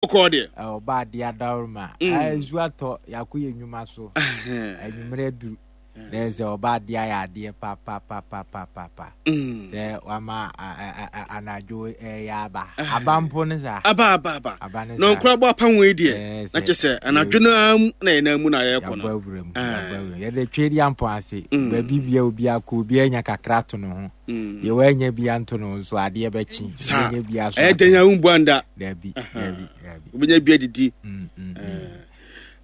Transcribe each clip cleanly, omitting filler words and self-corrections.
Bɔkɔɔ deɛ. Ɔba adeɛ adaworoma. Nsuo atɔ, yɛakɔ yɛn nnwuma so. Anwummerɛ aduru. Na ɛsɛ ɔba adeɛ ayɛ adeɛ papapapapapa. Sɛ wama anadwo ɛyɛ aba. Aba mpo ne saa. Aba aba aba. Aba ne saa. Na nkura bɔ apam wei deɛ. Na kyɛ sɛ anadwo no ara mu na yɛn nan mu na yɛrekɔ no. Yɛabɔ awura mu. Yɛabɔ awura mu. Yɛde twɛ di ampɔn ase. Baabi bia obi akɔ obi anya kakra to ne ho. Deɛ wanya bi anto ne ho nso adeɛ bɛkye. Saa. Ɛyɛ dɛn a wombu anda. Dabi dabi dabi. Wobɛnya bi adidi.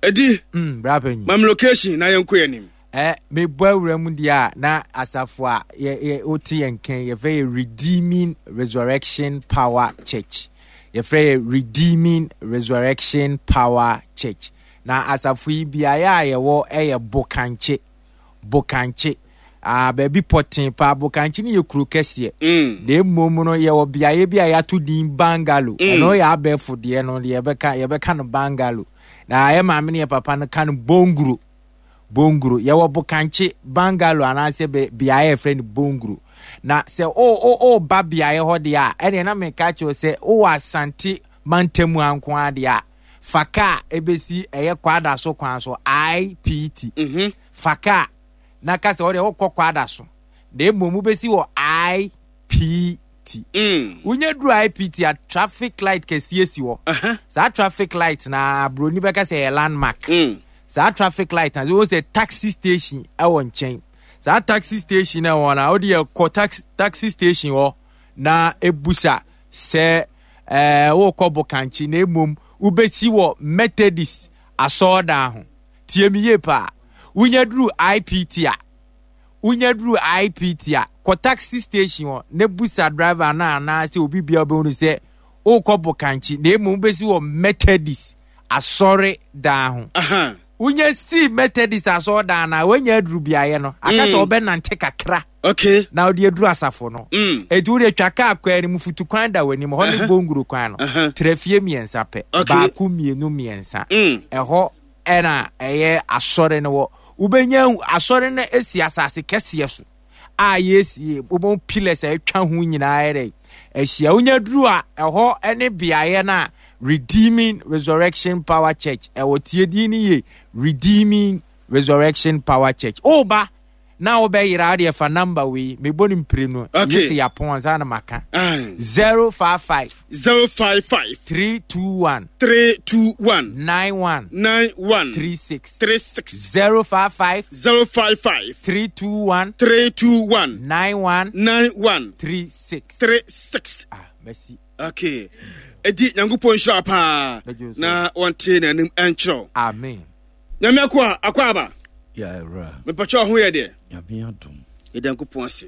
Ɛdi. Bra panyin. Mam location na yɛnkɔ yɛn anim. Eh, mebɔ awura mu deɛ a na asafo a yɛ yɛ wote yɛn nkan yɛfrɛ yɛ Redeeming Resurrection Power Church. Yɛfrɛ yɛ Redeeming Resurrection Power Church. Na asafo yi beaeɛ a yɛwɔ yɛ Bokankye. Bokankye. Ah, baabi pɔtee paa. Bokankye no yɛ kuro kɛseɛ. Na mmom no yɛwɔ beaeɛ bi a yɛato din Bungalow. Ɛno yɛ abɛɛfo deɛ no yɛbɛka yɛbɛka no Bungalow. Na yɛ maame ne yɛ papa no ka no Bonguro. Bonguro. Yɛwɔ Bokankye Bungalow anaasɛ beaeɛ a yɛfrɛ no Bonguro. Na sɛ o o ba beaeɛ hɔ deɛ a, ɛneɛ na meka kyerɛ sɛ wowɔ Asante mantam ha nko ara deɛ a, fa kaa ɛbɛsi ɛyɛ Kwadaso kwan so, IPT. Fa kaa na ka sɛ wodeɛ wokɔ Kwadaso. Na mmom wobɛsi wɔ IPT. Wonya duru IPT a, traffic light kɛseɛ si hɔ. Saa traffic light na buroni bɛka sɛ ɛyɛ landmark. Saa traffic light na wohu sɛ taxi station ɛwɔ nkyɛn. Saa taxi station na ɛwɔ na wode kɔ taxi taxi station hɔ na ebusa sɛ ɛɛ wokɔ Bokankye na mmom wobɛsi wɔ Methodist asɔɔdan ho. Tie me yie paa. Wonya duru IPT a, wonya duru IPT a, kɔ taxi station hɔ na busa driver no anaasɛ obi bia wobɛhu no sɛ wokɔ Bokankye na mmom wobɛsi wɔ Methodist asɔre dan ho. Wonya sii Methodist asɔre dan no a, woanya aduru beaeɛ no. Aka sɛ wobɛnante kakra. Okay. Na wode aduru asafo no. Enti wode twa kaa kwan no mu, futu kwan da w'anim, hɔ ne Bonguro kwan no. Tra fie mmiɛnsa pɛ. Baako, mmienu, mmiɛnsa. Ɛhɔ ɛna ɛyɛ asɔre no wɔ. Wobɛnya asɔre no asi asase kɛseɛ so a yɛsie, wobɛhu pillars a atwa ho nyinaa yɛ dɛ ahyia. Wonya duru a, ɛhɔ ne beaeɛ no a Redeeming Resurrection Power Church ɛwɔ. Tie din no yie, Redeeming Resurrection Power Church. Woba na wobɛyera wo deɛ fa number wei mebɔ no mprenu. Okay. Yɛ sɛ yɛapɔn ansa na maka. 055 055 321 321 91 91 36 36 055 055 321 321 91 91 36. 36. Ah, merci. Okay. Edi Nyankopɔn nhyira paa na wɔnte n'anim ɛnkyerɛw. Amen. Nyame akoa akɔ aba. Ya awura. Mepakyɛ ho yɛ deɛ. Nyame adom. Yɛda Nyankopɔn ase.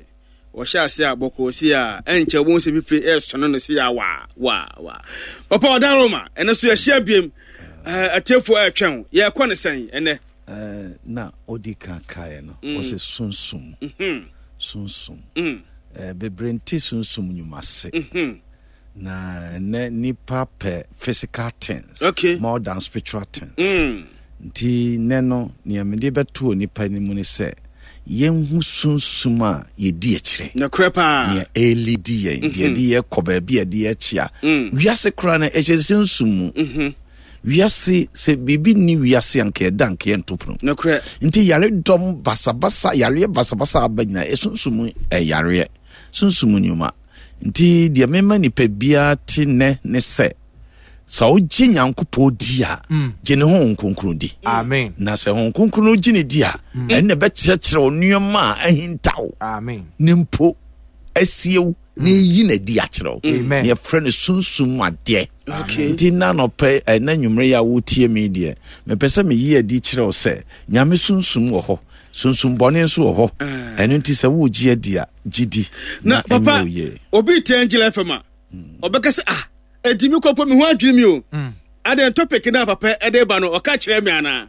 Wɔhyɛ ase a bɔkɔɔ si a ɛnkyɛ wɔn sɛ fifire ɛresɔno no si a waa waa waa. Papa ɔda Roma ɛnɛ so yɛhyia biem atiefoɔ ɛretwɛn wo yɛrekɔ ne sɛn ɛnɛ. Na odi kan kaeɛ no wɔsɛ sunsum sunsum bebree nte sunsum nnwuma ase. Na ɛnɛ nipa pɛ physical things okay. more than spiritual things. Nti nɛ no nea mede bɛto onipa anim ne sɛ yɛnhu sunsum a yɛdi akyire. Nokorɛ paa. Nea ɛrelidi yɛn, deɛ ɛde yɛ kɔ baabi a ɛde yɛ kyea. Wiase koraa no ɛhyɛ sunsum mu. Wiase sɛ biribi nni wiase a nka ɛda nka yɛnto pono. Nokorɛ. Nti yaredɔm basabasa, yareɛ basabasa aba nyinaa ɛsunsum ɛyareɛ, sunsum nnwuma. Nti deɛ mema nipa biara te nnɛ ne sɛ, sɛ wogye Nyankopɔn di a, gye ne Honhom Kronkron di. Amen. Na sɛ Honhom Kronkron no gye ne di a, ɛno na ɛbɛkyerɛkyerɛ wo nneɛma a ahintaw Amen. ne mpo asie wo na eyi na adi akyerɛ wo. Amen. Na yɛfrɛ no sunsum mu adeɛ. Okay. Nti na anɔpɛ ɛna nwummere yi a wotie me deɛ, mepɛ sɛ meyi adi kyerɛ wo sɛ Nyame sunsum wɔ hɔ, sunsum bɔne nso wɔ hɔ. Ɛno nti sɛ wogye adi a, gye di na na papa ɛnyɛ wo yie. Obi te Angel FM a ɔbɛka sɛ ah ɛdi mi kɔpɔ mi ho adwene mi o adɛn topic na papa ɛde ba no ɔka kyerɛ mi anaa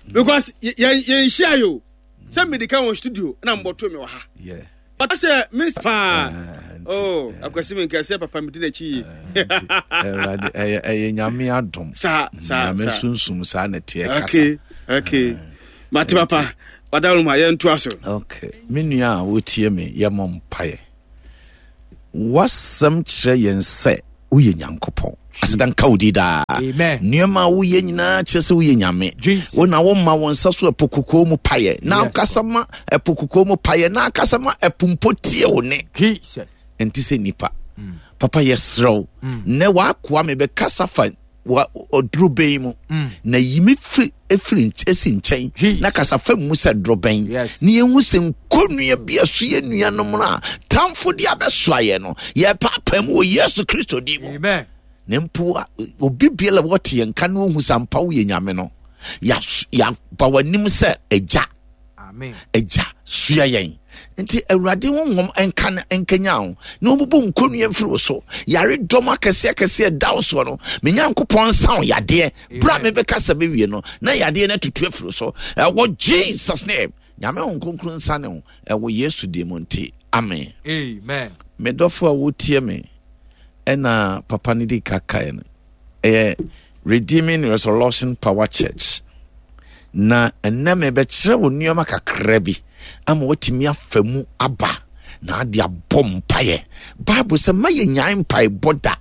because yɛn yɛn hyia yi o sɛ mede ka wɔ studio na mbɔto mi wɔ ha ɔka sɛ me paa oh akwasi mi nka sɛ papa mi di n'akyi yie. Ɛwurade ɛyɛ ɛyɛ Nyame adom. Saa saa Nyame sunsum saa na ɛteɛ kasa. Okay okay mate papa. Wadaworo ma yɛntoa so. Okay. Me nua a wotie me, yɛmmɔ mpaeɛ. W'asɛm kyerɛ yɛn sɛ woyɛ Nyankopɔn. Aseda nka wo din daa. Nneɛma a woyɛ nyinaa kyerɛ sɛ woyɛ Nyame. Wo na woma wo nsa so ɛpo kokoo mu payɛ na akasa ma ɛpo kokoo mu payɛ na akasa ma ɛpo mpo tie wo ne. Ɛnte sɛ nipa. Mm. Papa yɛserɛ wo. Mm. Nnɛ w'akoa mebɛkasa fa ɔdorobɛn mu mm. na yi me firi efiri esi nkyɛn na kasa fam mu sɛ dorobɛn na yɛhu sɛ nkonnua bi a so yɛ nuanom no a tamfo de abɛsoa yɛ no yɛpaapa mu wɔ Yesu Kristo din mu. Na mpo obi biara wɔte yɛn nka na ohu sɛ ampa woyɛ Nyame no, yɛaba w'anim sɛ agya. Agya, sua yɛn. Nti Awurade honhom nka nkanya wo na ɔbubu nkonnua mfiri wo so. Yare dɔm akɛseɛ akɛseɛ da wo soɔ no, me Nyankopɔn nsa wo yadeɛ. Berɛ a mebɛka sɛ bɛwie no, na yadeɛ no atutu afiri wo so. Ɛwɔ Jesus name. Nyame Honhom Kronkron nsa ne wo. Ɛwɔ Yesu din mu nti. Amen. Amen. Me dɔfo a wotie me, ɛna papa no di ka kae no. Ɛyɛ Redeeming Resurrection Power Church. Na ɛnnɛ mebɛkyerɛ wo nneɛma kakra bi ama watumi afa mu aba na ade abɔ mpaeɛ. Bible sɛ ma yɛnyae mpaebɔ da.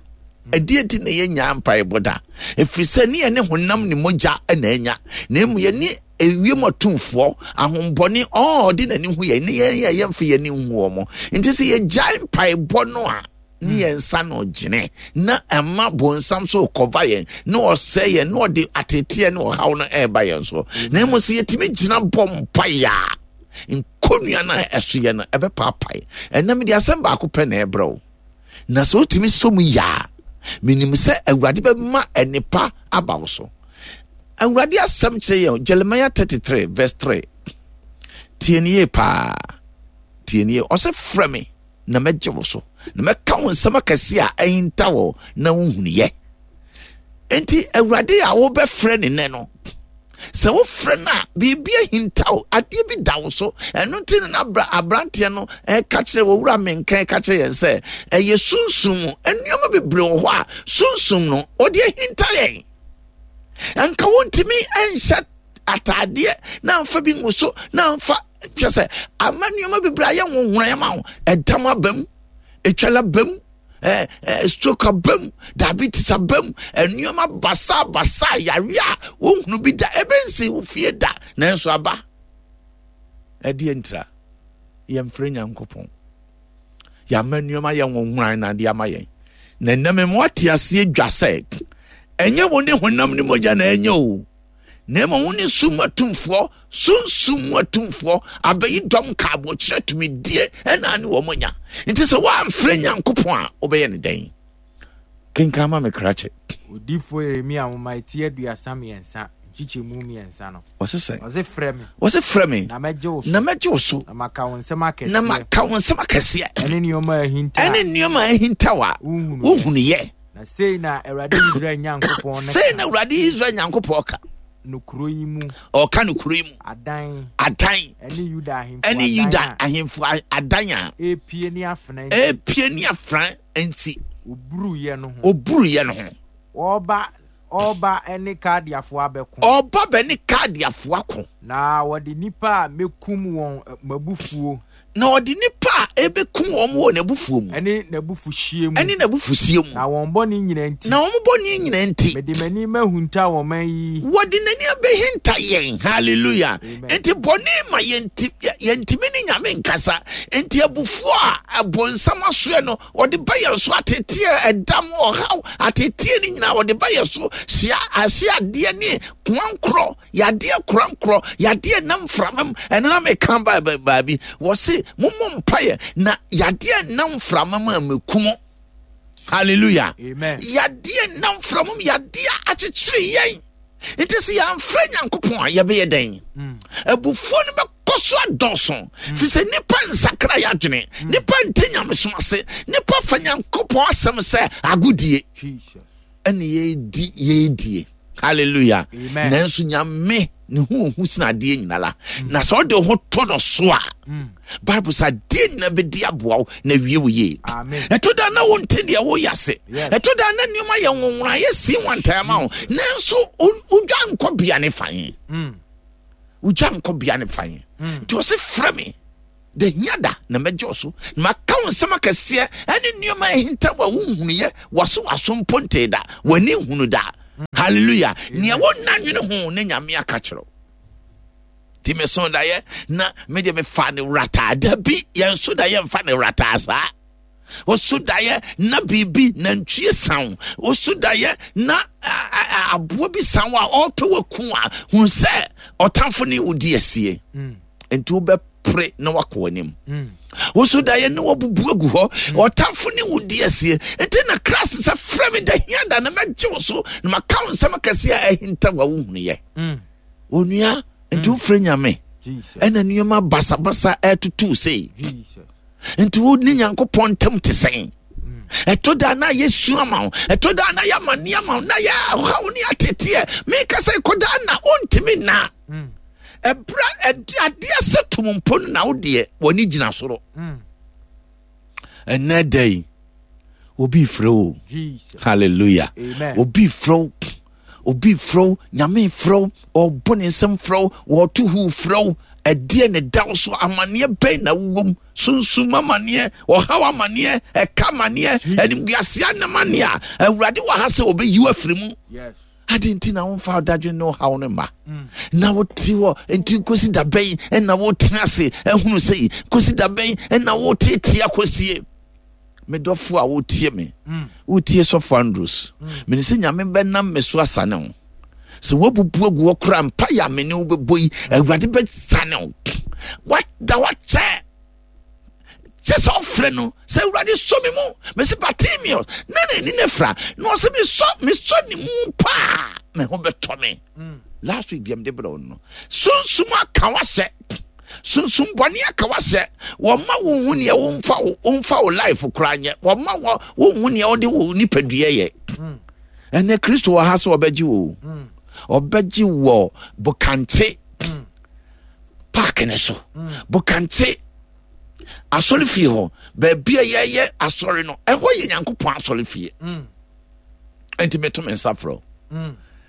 Ɛdeɛ nti na yɛnyae mpaebɔ da? Ɛfiri sɛ ne yɛne honam ne mogya na anya, na emu yɛne ewiem atumfoɔ, ahombɔne, ɔɔ ɔde n'ani hu yɛn, ne yɛn yɛ yɛmfa yɛn ani nhu wɔn. Nti sɛ yɛgyae mpaebɔ no a, ne yɛn nsa no gyene na ɛma bonsam so kɔva yɛn na ɔsɛe yɛn na ɔde ateteɛ ne ɔhaw no ɛreba yɛn so. Na mmom sɛ yɛtumi gyina bɔ mpaeɛ a, nkonnua no a ɛso yɛ no ɛbɛpaapae. Ɛnna mede asɛm baako pɛ na ɛbrɛ wo, na sɛ wotumi sɔ mu yɛ a, menim sɛ Awurade bɛma nnepa aba wo so. Awurade asɛm kyerɛ yɛn Jeremiah 33 verse 3. Tie ne yie paa, tie ne yie. Ɔsɛ frɛ me na mɛgye wo so, na mɛka wo nsɛm akɛse a ahinta wɔ na wohunuyɛ. Enti Awurade a wobɛfrɛ ne nɛ no, sɛ wofrɛ no a, biribi ahinta wo, adeɛ bi da wo so. Ɛno nti na aberanteɛ no ɛka kyerɛ wɔwura menka ɛka kyerɛ yɛn sɛ ɛyɛ sunsum mu nneɛma bebree wɔ hɔ a sunsum no ɔde ahinta yɛn. Nka wontumi nhyɛ ataadeɛ na amfa bi ngu so na amfa kyerɛ sɛ ama nneɛma bebree ayɛ nwonwona ma wo. Ɛdam aba mu, etwala ba mu, ɛɛ ɛɛ stroke aba mu, diabetes aba mu, nneɛma basa basa yare a wohunu bi da, ebe nsi wo fie da, nanso aba. Ɛdeɛ ntira yɛmfrɛ Nyankopɔn. Yɛama nneɛma yɛ nwonwona na ade ama yɛn. Na nnɛ mema wate aseɛ dwa sɛ ɛnyɛ wo ne honam ne mogya na ɛnyɛ o. Na mmom wo ne sum mu atumfoɔ, sunsum mu atumfoɔ, abɛyi dɔm nkaabɔkyerɛ tumidie ɛna ne wɔn nya. Nti sɛ woamfrɛ Nyankopɔn a, wobɛyɛ ne dɛn? Kenkan ma me krakye. Odiyifoɔ Yeremia nwoma eti 33 nkyekyɛmu 3 no. Ɔse sɛn? Ɔse frɛ me. Ɔse frɛ me. Na mɛgye wo so. Na mɛgye wo so. Na maka wo nsɛm akɛseɛ. Na maka wo nsɛm akɛseɛ. Ɛne nneɛma a ahinta. Ɛne nneɛma a ahinta wa. Wohunuyɛ. Na sei na Awurade Israel Nyankopɔn no Sei na Awurade Israel Nyankopɔn ka. No kuro yi mu. Ɔka no kuro yi mu. Adan. Adan. Ɛne Yuda ahemfo adan. Ɛne Yuda ahemfo adan a. Epie ne afena nti. Epie ne afena nti. Oburuyɛ no ho. Oburuyɛ no ho. Ɔba ɔba ne Kaldeafoɔ abɛko. Ɔba bɛ ne Kaldeafoɔ ako. Na wɔde nnipa a mɛkum wɔn m'abufuo. Na ɔde nnipa a ɛbɛkum wɔn wɔ n'abufuo mu. Ɛne n'abufuhyeɛ mu. Ɛne n'abufuhyeɛ mu. Na wɔn bɔne nyinaa nti. Na wɔn bɔne nyinaa nti. Mede m'ani mahunta wɔn man yi. Wɔde n'ani abɛhinta yɛn. Hallelujah. Amen. Nti bɔne ma yɛnti yɛntumi ne Nyame nkasa. Nti abufuo a abonsam asoɛ no ɔde ba yɛn so ateteɛ ɛdam ɔhaw ateteɛ ne nyinaa ɔde ba yɛn so hyia ahye adeɛ ne koankorɔ. Yadeɛ korankorɔ, yadeɛ nam mframa mu. Ɛno na meka ba baabi. Wɔse mommɔ mpaeɛ na yadeɛ nam mframa mu a meku mo. Hallelujah. Amen. Yadeɛ nam mframa mu, yadeɛ akyekyere yɛn. Nti sɛ yɛamfrɛ Nyankopɔn a yɛbɛyɛ dɛn? Mm. Abufuo no bɛkɔ so adɔɔso. Mm. Fi sɛ nnipa nsakra yɛ adwene, mm. nnipa nte nyamesom ase, nnipa fa Nyankopɔn asɛm sɛ agodie. Ɛne yɛdi yɛdie. Hallelujah. Nanso Nyame ne ho ohu sene adeɛ nyina la. Mm. Na sɛ ɔde ho to no so a, mm. Bible sɛ adeɛ nyina bɛdi aboa wo na wie wo yie. Ɛto da na wonte deɛ woyɛ ase. Ɛto da na nneɛma yɛ nwonwona yɛ si wantaa ma wo. Nanso wodwa nkɔ bea ne fan. Mm. Wodwa nkɔ bea ne fan. Nti ɔse frɛ me. Da hia da na mɛgye wo so, na maka wo nsɛm akɛseɛ ɛne nneɛma ahinta wɔ wonhunuyɛ, waso waso mpo ntee da, w'ani nhunu da. Hallelujah. Nea wonna nwene ho ne Nyame aka kyerɛ wo. Nti meso daeɛ na medeɛ mefa ne wrataa. Da bi yɛn so daeɛ mfa ne wrataa saa. Woso daeɛ na biribi nantwie san wo. Woso daeɛ na aboa bi san wo a ɔrepɛ waku a, hunu sɛ ɔtamfo ne wo di asie. Nti wobɛpere na wakɔ w'anim. Woso daeɛ na wabubu agu hɔ, ɔtamfo ne wo di asie. Nti na Christ sɛ frɛ me da hia da na mɛgye wo so na maka wo nsɛm akɛseɛ a ahinta wa wohunuyɛ. Onua, nti wofrɛ Nyame ɛna nneɛma basabasa ɛtutu sei. Nti wo ne Nyankopɔn ntam te sɛn? Ɛtɔ da na yɛ su ama wo, ɛtɔ da na yɛ amane ama wo, na yɛ ɔhaw ne ateteɛ. Meka sɛ kɔda na wontumi nna. Ɛberɛ adeɛ sɛ tom mpo no na wo deɛ w'ani gyina soro. Ɛnɛ da yi obi frɛ wo. Hallelujah. Obi frɛ wo, obi frɛ wo, Nyame frɛ wo, ɔbɔ ne nsɛm frɛ wo, wɔto hu frɛ wo. Ɛdeɛ ne da wo so, amanneɛ bɛn na wowom? Sunsum amanneɛ, ɔhaw amanneɛ, ɛka amanneɛ, animguaseɛ amanneɛ a Awurade wɔ ha sɛ ɔbɛyi wo afiri mu. Ade nti na womfa ɔdadwene ne ɔhaw no mma na wote hɔ nti nkosi da bɛn na wotena ase ahunu sɛ yi nkosi da bɛn na woteete akɔsie. Me dɔfo a wotie me, wotie Sɔfo Andrews, mene sɛ Nyame bɛnam me so asane wo. Sɛ woabubu agu hɔ koraa mpa yɛ a me ne wo bɛbɔ yi, Awurade bɛsane wo. Wada wakyɛ kyɛ sɛ ɔfrɛ no sɛ Awurade sɔ me mu. Mese Bartimaeus na n'ani no afira na ɔsɛ mesɔ ne mu paa me ho bɛtɔ me. Last week deɛ mede brɛ wo no, sunsum aka wahyɛ, sunsum bɔne aka wahyɛ. Wɔma wo hu neɛ womfa wo life koraa nyɛ, wɔma wo hu neɛ wode wo nipadua yɛ. Ɛnɛ Kristo wɔ ha sɛ ɔbɛgye wo, ɔbɛgye wɔ bokankye park ne so, bokankye asɔre fie hɔ, baabi a yɛyɛ asɔre no, ɛhɔ yɛ Nyankopɔn asɔre fie. Nti meto me nsa frɛ wo.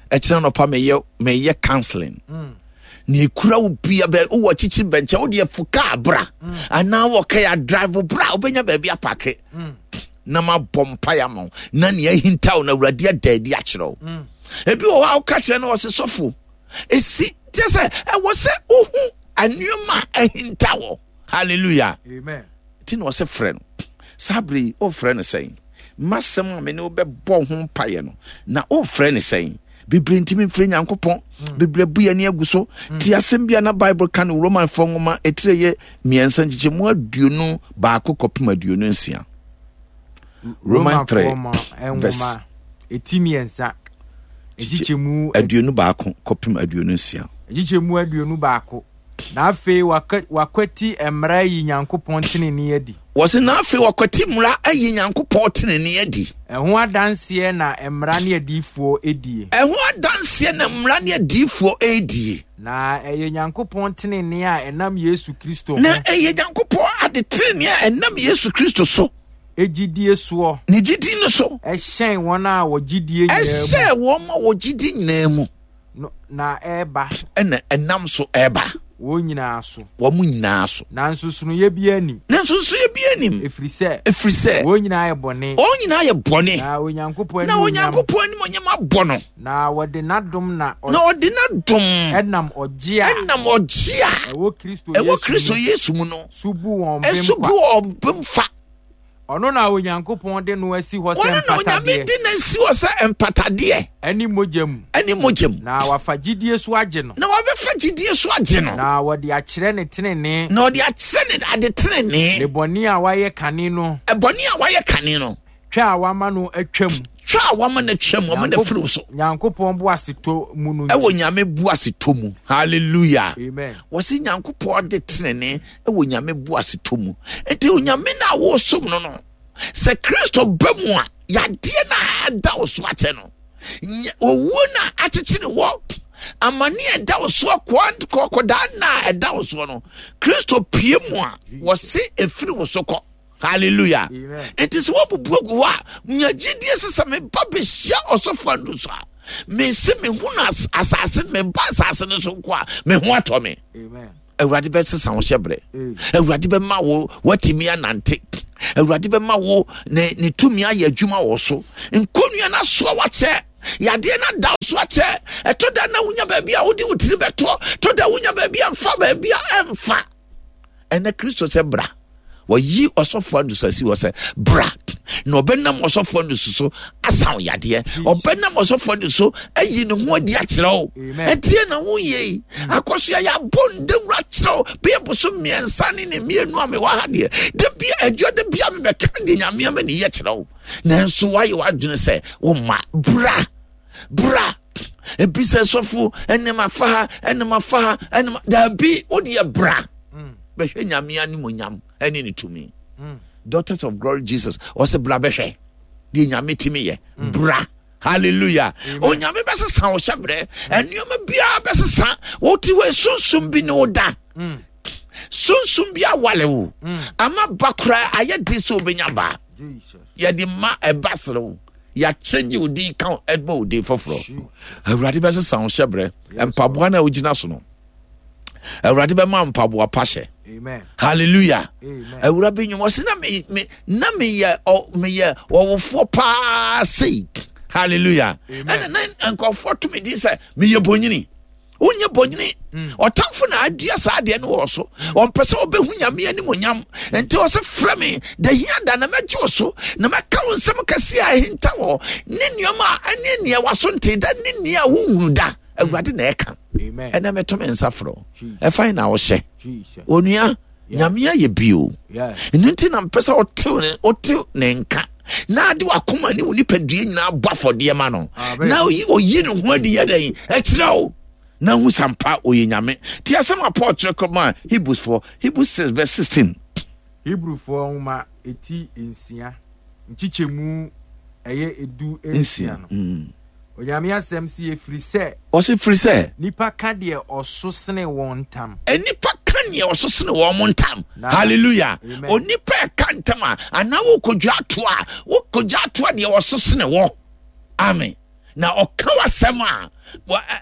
Ɛkyerɛ nɔpa meyɛ counseling. Na ekura wo bia bɛ wowɔ kyikyiri bɛnkyɛn wo deɛ fo kaa bra anaa wɔ kɛya drive bra wobɛnya baabi apake na mabɔ mpaeɛ ama wo na nea ahinta wo na Awurade ada adi akyerɛ wo. Ebi wɔ hɔ a woka kyerɛ no ɔse sɔfo esi kyɛ sɛ ɛwɔ sɛ wohu nneɛma a ahinta wɔ. Hallelujah. Amen. Ti na ɔsɛ frɛ no. Saa bere yi ɔfrɛ no sɛn? Masɛm a me ne wo bɛbɔ ho mpaeɛ no na ɔfrɛ no sɛn? Bebree ntumi mfrɛ Nyankopɔn. Bebree abu yɛn ani agu so. Ti asɛm bi a na Bible ka no Romanfoɔ nwoma etire yɛ 3 nkyekyɛmu 21 kɔpem 26. Roman 3 verse eti 3 nkyekyɛmu 21 kɔpem 26. Nkyekyɛmu 21. Na afei wakwati mmara ayi Nyankopɔn tenenee adi. Wɔse na afei wakwati mmara ayi Nyankopɔn tenenee adi. Ɛho adanseɛ na mmara ne adiyifoɔ die. Ɛho adanseɛ na mmara ne adiyifoɔ die. Na ɛyɛ Nyankopɔn tenenee a ɛnam Yesu Kristo ho. Na ɛyɛ Nyankopɔn ade tenenee a ɛnam Yesu Kristo so. Gyidie soɔ. Ne gyidie no so. Ɛhyɛn wɔn a wɔgye die nyinaa mu. Ɛhyɛn wɔn a wɔgye die nyinaa mu. No, na ɛreba. Ɛna ɛnam so ɛreba. Wɔn nyinaa so. Wɔn nyinaa so. Na nsonsonoeɛ biara nnim. Na nsonsonoeɛ biara nnim. Ɛfiri sɛ. Ɛfiri sɛ. Wɔn nyinaa yɛ bɔne. Wɔn nyinaa yɛ bɔne. Na Onyankopɔn Na Onyankopɔn animuonyam abɔ no. Na wɔde n'adom na. Na ɔde n'adom. Ɛnam ɔgye a. Ɛnam ɔgye a. Ɛwɔ Kristo Yesu mu. Ɛwɔ Kristo Yesu mu no. So bu wɔn bem kwa. Ɛso bu wɔn bem fa. Ɔno na Onyankopɔn de no asi hɔ sɛ Ɔno na Onyame mpatadeɛ. de no asi hɔ sɛ mpatadeɛ. Ɛne mogya mu. Ɛne mogya mu. Na wafa gyidie so agye no. Na wabɛfa gyidie so agye no. Na wɔde akyerɛ ne tenenee. Na ɔde akyerɛ ne ade tenenee. Ne bɔne a wayɛ kane no. Ɛbɔne a wayɛ kane no. Twa a wama no atwam. Twa a wama no atwam, wama no afiri so. Nyankopɔn boasetɔ mu no nti. Ɛwɔ Nyame boasetɔ mu. Hallelujah. Amen. Wɔsi Nyankopɔn de tenenee ɛwɔ Nyame boasetɔ mu. Nti Onyame no a wɔsom no no, sɛ Kristo ba mu a, yadeɛ no a ɛda wo so akyɛ no, owuo no a akyekyere wɔ, amane a ɛda wo soɔ, kɔkɔdaa nna a ɛda wo soɔ no, Kristo pie mu a, wɔse ɛfiri wo so kɔ. Hallelujah. Nti sɛ woabubu agu hɔ a, nya gyidie sɛ sɛ meba bɛhyia ɔsɔfo ando so a, mese mehu no asase, meba asase no so nko a, me ho atɔ me. Amen. Awurade bɛsesa wo hyɛbrɛ. Awurade bɛma wo watumi anante. Awurade bɛma wo ne ne tumi ayɛ adwuma wɔ so. Nkonnua no asoa wakyɛ. Yadeɛ no ada so akyɛ. Ɛtɔ da na wonya baabi a wode wo tiri bɛtɔ. Ɛtɔ da wonya baabi a mfa baabi a ɛmfa. Ɛnɛ Kristo sɛ bra. Wɔyi ɔsɔfo Andrews asi hɔ sɛ bra na ɔbɛnam ɔsɔfo Andrews so asa wo yadeɛ. Ɔbɛnam ɔsɔfo Andrews so ayi ne ho adi akyerɛ wo. Ɛdeɛ na woyɛ yi hmm. akɔsoa yɛabɔ ndawura kyerɛ wo bɛyɛ boso mmiɛnsa ne ne mmienu a mewɔ ha deɛ da bia adwua da bia mebɛka deɛ Nyame ama ne yɛ kyerɛ wo. Nanso woayɛ w'adwene sɛ woma bra bra ebi sɛ sɔfo ɛnam afa ha ɛnam afa ha ɛnam daabi wo deɛ bra mm. bɛhwɛ nyame animonyam ɛne ne tumi mm. daughters of glory jesus ɔsɛ bra bɛhwɛ deɛ nyame tumi yɛ mm. bra hallelujah onyame bɛsesa wo hyɛbrɛ nneɛma biara bɛsesa wote hɔ sunsum bi ne wo da sunsum bi awale wo ama ba koraa ayɛ den sɛ wobɛnya baa yɛde ma ɛba sere wo yɛakyɛngye wo din ka ɛbɔ wo din foforɔ awurade bɛsesa wo hyɛberɛ mpaboa no a wogyina so no awurade bɛma mpaboa pa hyɛ hallelujah awura bi nwom ɔse na me me na meyɛ meyɛ ɔwofoɔ paa sei hallelujah ɛna na nkurɔfoɔ to me din sɛ meyɛ bonyini wonyɛ bɔnyini mm. ɔtamfo na adua saa adeɛ no wɔ so mm. ɔmpɛ sɛ ɔbɛhu nyame animonyam nti ɔsɛ frɛ me da hia da na mɛgye wo so na mɛka wo nsɛm kɛseɛ a ɛhinta wɔ ne nneɛma a ɛne nea waso nte da ne nea wohunu da mm. Awurade na ɛka ɛnɛ meto me nsa frɛ ɛfan na wohyɛ onua nyame ayɛ bio ɛno nti na mpɛ sɛ wotew ne nka na ade wakoma ne wo nipadua nyinaa bɔ afɔdeɛ ma no na oyi ne ho adi yɛ dɛn ɛkyerɛ wo na hu sampa ɔyɛ nyame nti asɛm a Paul kyerɛ kɔma Hebrewsfoɔ Hebrews 6 verse 16. Hebrewfoɔ nwoma eti nsia nkyekyɛmu ɛyɛ 16 no. Onyame asɛm se ɛfiri sɛ. Ɔse firi sɛ. Nnipa ka deɛ ɔso sene wɔn ntam. Nnipa ka deɛ ɔso sene wɔn ntam. Hallelujah. Onipa ɛka ntam a, anaa wokɔdwa ato a, wokɔdwa ato a deɛ ɔso sene wɔ. Amen. Na ɔka w'asɛm a,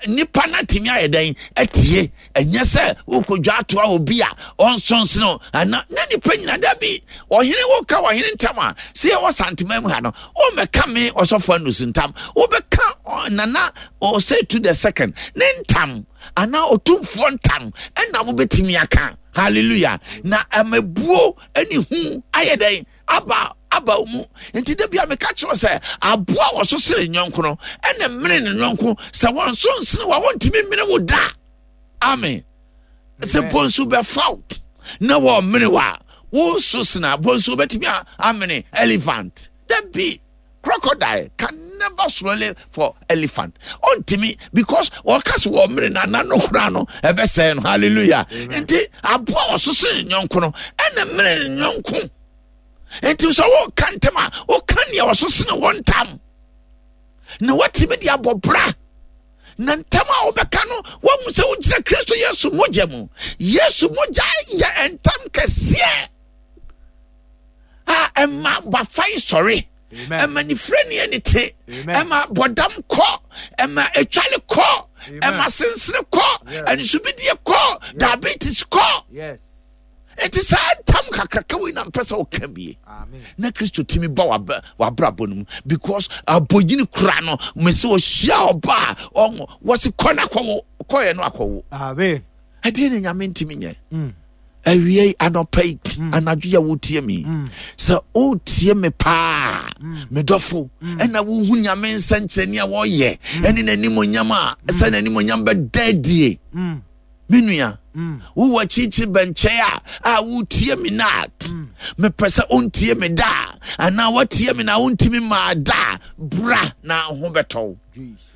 nipa no atumi ayɛ dɛn atie. Ɛnyɛ sɛ wokɔdwa ato a obi a ɔnsonsene ana na nipa nyina da bi. Ɔhene woka ɔhene ntam a, sɛ yɛwɔ Santema mu ha no, Wommɛka me ɔsɔfo Andrews ntam. Wobɛka Nana Osei the second ne ntam anaa otumfoɔ ntam ɛna wobɛtumi aka. Hallelujah. Na amabuo ne hu ayɛ dɛn aba aba wo mu. Nti da bia meka kyerɛ sɛ aboa wɔ so sene nyɔnko no ɛna mmene ne nyɔnko sɛ wɔn so nsene wa wɔntumi mmene wo da. Amen. Sɛ bonsu bɛfa wo na wɔmene wo a wo so sena bonsu wobɛtumi amene elephant. Dabi, crocodile can never swallow for elephant. Ɔntumi because wɔka so wɔmene na nano koraa no ɛbɛsɛe no. Hallelujah. Nti aboa wɔ so sene nyɔnko no ɛna mene ne nyɔnko. Nti sɛ woka ntam a woka nea wɔso sene wɔn ntam na watumi de abɔ bra. Na ntam a wobɛka no, woahu sɛ wogyina Kristo Yesu mogya mu. Yesu mogya yɛ ntam kɛseɛ a ɛma bafan sɔre, ɛma nifirani ani te, ɛma bɔdam kɔ, ɛma etwale kɔ, ɛma sensene kɔ, anisubidie kɔ, diabetes kɔ. Enti saa ntam kakraka wei na mpɛ sɛ woka bie na Kristo tumi ba w'abrabɔ no mu because abɔnyini kura no mese ɔhyia ɔba a ɔnwo wɔse kɔ no akɔwo kɔyɛ no akɔwo. Ɛdeɛ ne Nyame ntumi nyɛ. Mm. Awie anɔpa yi mm. anadwo yɛ wotie mi mm. sɛ wotie me paa me dɔfo ɛna wohu Nyame nsɛnkyerɛnne a wɔyɛ ɛne n'animonyam a sɛ n'animonyam bɛda adie. Me nua, mm. wowɔ akyirikyiri bɛnkyɛn a a wotie me na mm. mepɛ sɛ wontie me da anaa woatie me na wontumi maa da bra na ho bɛtɔ wo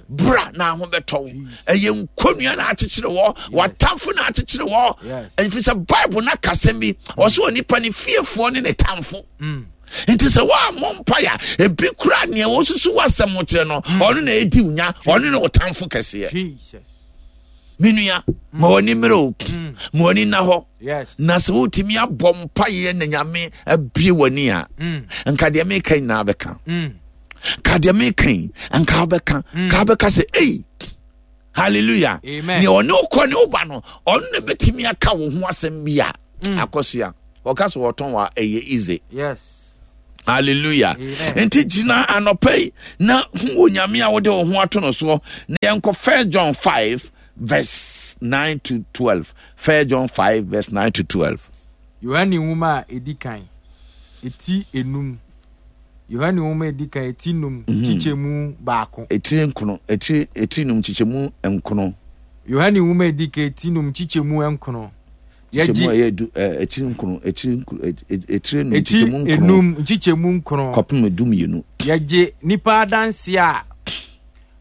bra na ho bɛtɔ wo ɛyɛ nkonnua na akyekyere wɔ w'atamfo na akyekyere wɔ ɛfiri sɛ Bible no akasɛm bi ɔsɛ onipa ne fiefoɔ ne ne tamfo mm. nti sɛ woammɔ mpae a ebi kura nea wɔsusu w'asɛm kyerɛ no ɔno na ɛdi wo nya ɔno ne wo tamfo kɛseɛ. Me nua, ma w'ani mmerɛ o, mm. ma w'ani nna hɔ. Na sɛ wotumi abɔ mpaeɛ na Nyame abie w'ani a, mm. nka deɛ meka nyinaa bɛka. Mm. Ka deɛ meka yi, nka wobɛka. Ka wobɛka sɛ, ei, Hallelujah. Amen. Nea ɔne wokɔ ne woba no, ɔno na bɛtumi aka wo ho asɛm bi a mm. akɔsoa. Ɔka sɛ wɔtɔn wa ɛyɛ easy. Yes. Hallelujah. Nti gyina anɔpa yi na hu Onyame a wode wo ho ato no soɔ na yɛnkɔ First John 5 verse 9 to 12. First John 5 verse 9 to 12. Yohane nwoma a edi kan eti enum. Yohane nwoma a edi kan eti num mhm. kyekyɛmu baako. Etiri nkono etiri eti num kyekyɛmu nkono. Yohane nwoma a edi kan eti num kyekyɛmu nkono. Yɛgye ɛyɛ du ɛɛ etiri nkono etiri etiri num kyekyɛmu nkono. Eti enum nkyekyɛmu nkono. Kɔpem du mmienu. Yɛgye nipa adanseɛ a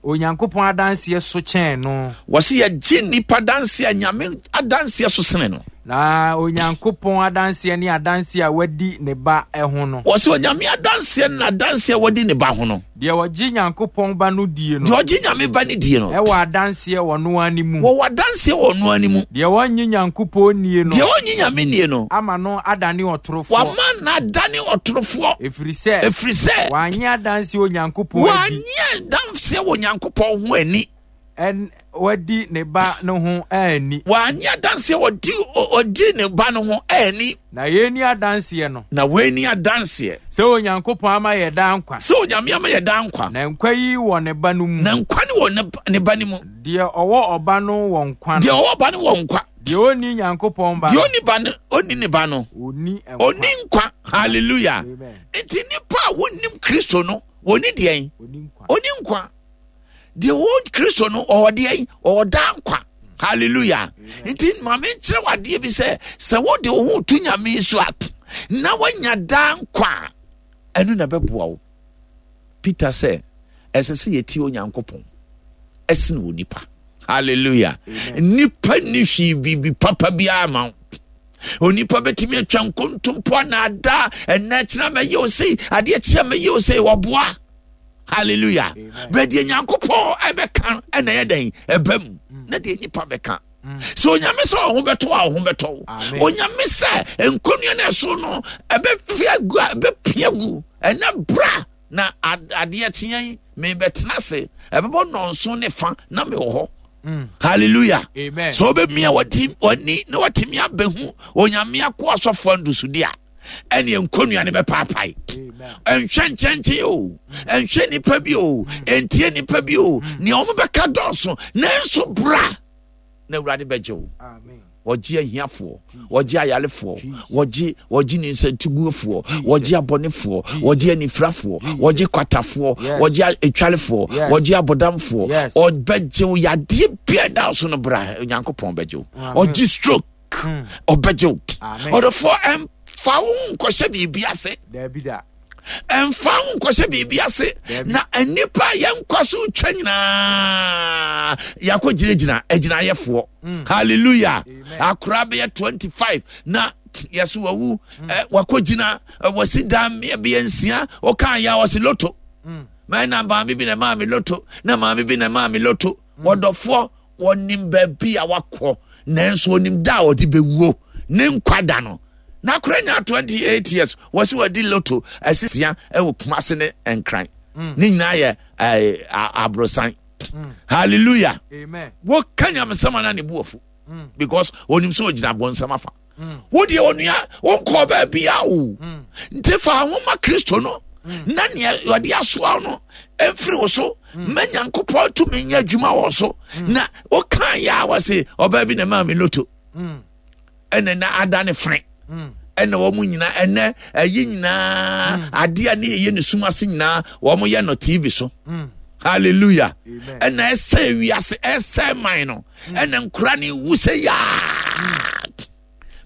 Onyankopɔn adanseɛ so kyɛn no. Wɔsi yɛgye nipa adanseɛ a Nyame adanseɛ so sene no. Na Onyankopɔn adanseɛ ne adanseɛ a wadi ne ba ho no. Wɔsi Onyame adanseɛ ne adanseɛ a wadi ne ba ho no. Deɛ ɔgye Nyankopɔn ba no die no. Deɛ ɔgye Nyame ba no die no. Ɛwɔ adanseɛ wɔ ɔno ara ne mu. Wɔwɔ adanseɛ wɔ ɔno ara ne mu. Deɛ ɔnnye Nyankopɔn nnie no. Deɛ ɔnnye Nyame nnie no. Ama no adane ɔtorofoɔ. Wama no adane ɔtorofoɔ. Ɛfiri sɛ. Ɛfiri sɛ. Wannye adanseɛ Onyankopɔn adi. Wannye adanseɛ wɔ Onyankopɔn ho ani. Ɛn wadi ne ba no ho anni. Wannye adanseɛ wɔdi ɔdi ne ba no ho anni. Na yei ne adanseɛ no. Na wei ne adanseɛ. Sɛ Onyankopɔn ama yɛ daa nkwa. Sɛ Onyame ama yɛ daa nkwa. Na nkwa yi wɔ ne ba no mu. Na nkwa no wɔ ne ba no mu. Deɛ ɔwɔ ɔba no wɔ nkwa no. Deɛ ɔwɔ ɔba no wɔ nkwa. Deɛ ɔnni Nyankopɔn ba no. Deɛ ɔnni ba no, ɔnni ne ba no. Ɔnni nkwa. Ɔnni nkwa. Hallelujah. Amen. Nti nipa a wɔnnim Kristo no, wɔnni deɛn? Ɔnni nkwa. Deɛ ɔwɔ Kristo no, ɔwɔ deɛn? Ɔwɔ daa nkwa. Hallelujah. Nti maame nkyerɛ wo adeɛ bi sɛ, sɛ wode wo ho to Nyame so a, na woanya daa nkwa a, ɛno na ɛbɛboa wo. Peter sɛ, ɛsɛ sɛ yɛtie Onyankopɔn ɛsene onipa. Hallelujah. Nipa ni hwee biribi papa biara ma wo. Onipa bɛtumi atwa nkontompo anaadaa ɛnɛ kyena mɛyɛ wo sei adeɛ kyea mɛyɛ wo sei wɔboa. Hallelujah. Bɛ deɛ Nyankopɔn ɛbɛka ɛna ɛyɛ dɛn ɛbɛ mu mm. na deɛ nipa bɛka. Mm. Sɛ onyame sɛ ɔho bɛtɔ a ɔho bɛtɔ wo. Onyame sɛ nkonnwa no ɛso no ɛbɛpia gu a ɛbɛpia gu ɛnɛ bra na adeɛ kyeɛ yi mebɛtena ase ɛbɛbɔ nnɔnso ne fa na mewɔ hɔ. Mm. Hallelujah. Amen. So wobɛmia w'ani na watumi abɛhu onyame ako asɔfoɔ ndusudi a ɛneɛ nkonnwa no bɛpaapae ɛnhwɛ nkyɛnkyɛn o ɛnhwɛ nipa bi o ɛntie nipa bi o nea wɔn bɛka dɔɔso nanso bra na awurade bɛgye wo wɔgye ahiafoɔ wɔgye ayarefoɔ wɔgye wɔgye ninsɛntiguofoɔ wɔgye abɔnefoɔ wɔgye anifirafoɔ wɔgye kwatafoɔ wɔgye atwarefoɔ wɔgye abɔdamfoɔ ɔbɛgye wo yadeɛ bia da so no bra onyankopɔn bɛgye wo ɔgye stroke hmm. ɔbɛgye wo ɔdɔfoɔ ɛmfa wo ho nkɔhyɛ biribi ase ɛmfa wo nkɔhyɛ biribi ase na nnipa a yɛnkɔ so twa nyinaa yɛakɔ gyinagyina agyinayɛfoɔ hmm. hallelujah akora bɛyɛ 25 na yɛso wawu hmm. wakɔ gyina wasi dan bɛyɛ nsia ɔka yɛ a ɔse loto na maame bi na maame loto na maame bi na maame loto wɔdɔfoɔ Wɔnim baabi a wakɔ, nanso onim da a ɔde bɛwuo, ne nkwa da no. N'akora nya 28 years, wɔsi wɔdi loto asisia wɔ Kumase ne Nkran. Mm. Ne nyinaa yɛ eh, aborosan. Mm. Hallelujah. Amen. Wɔka nyamesɛm ana ne bu afu. Mm. Because onim sɛ ogyina abɔnsɛm afa. Mm. Wo deɛ onua wonkɔɔ baabi a o. Mm. Nti fa ho ma Kristo no mm. na nea ɔde asoa no mfiri wo so ma Nyankopɔn tumi nyɛ adwuma wɔ so na wokaa yɛ a wɔse ɔbaa bi na maa me loto ɛna na ada ne fene ɛna wɔn nyinaa ɛnɛ ɛyi nyinaa adeɛ a ne yɛyɛ ne sum ase nyinaa wɔn yɛ no tv so hallelujah ɛna ɛsɛ wiase ɛsɛ man no ɛna nkura ne wu sɛ yaa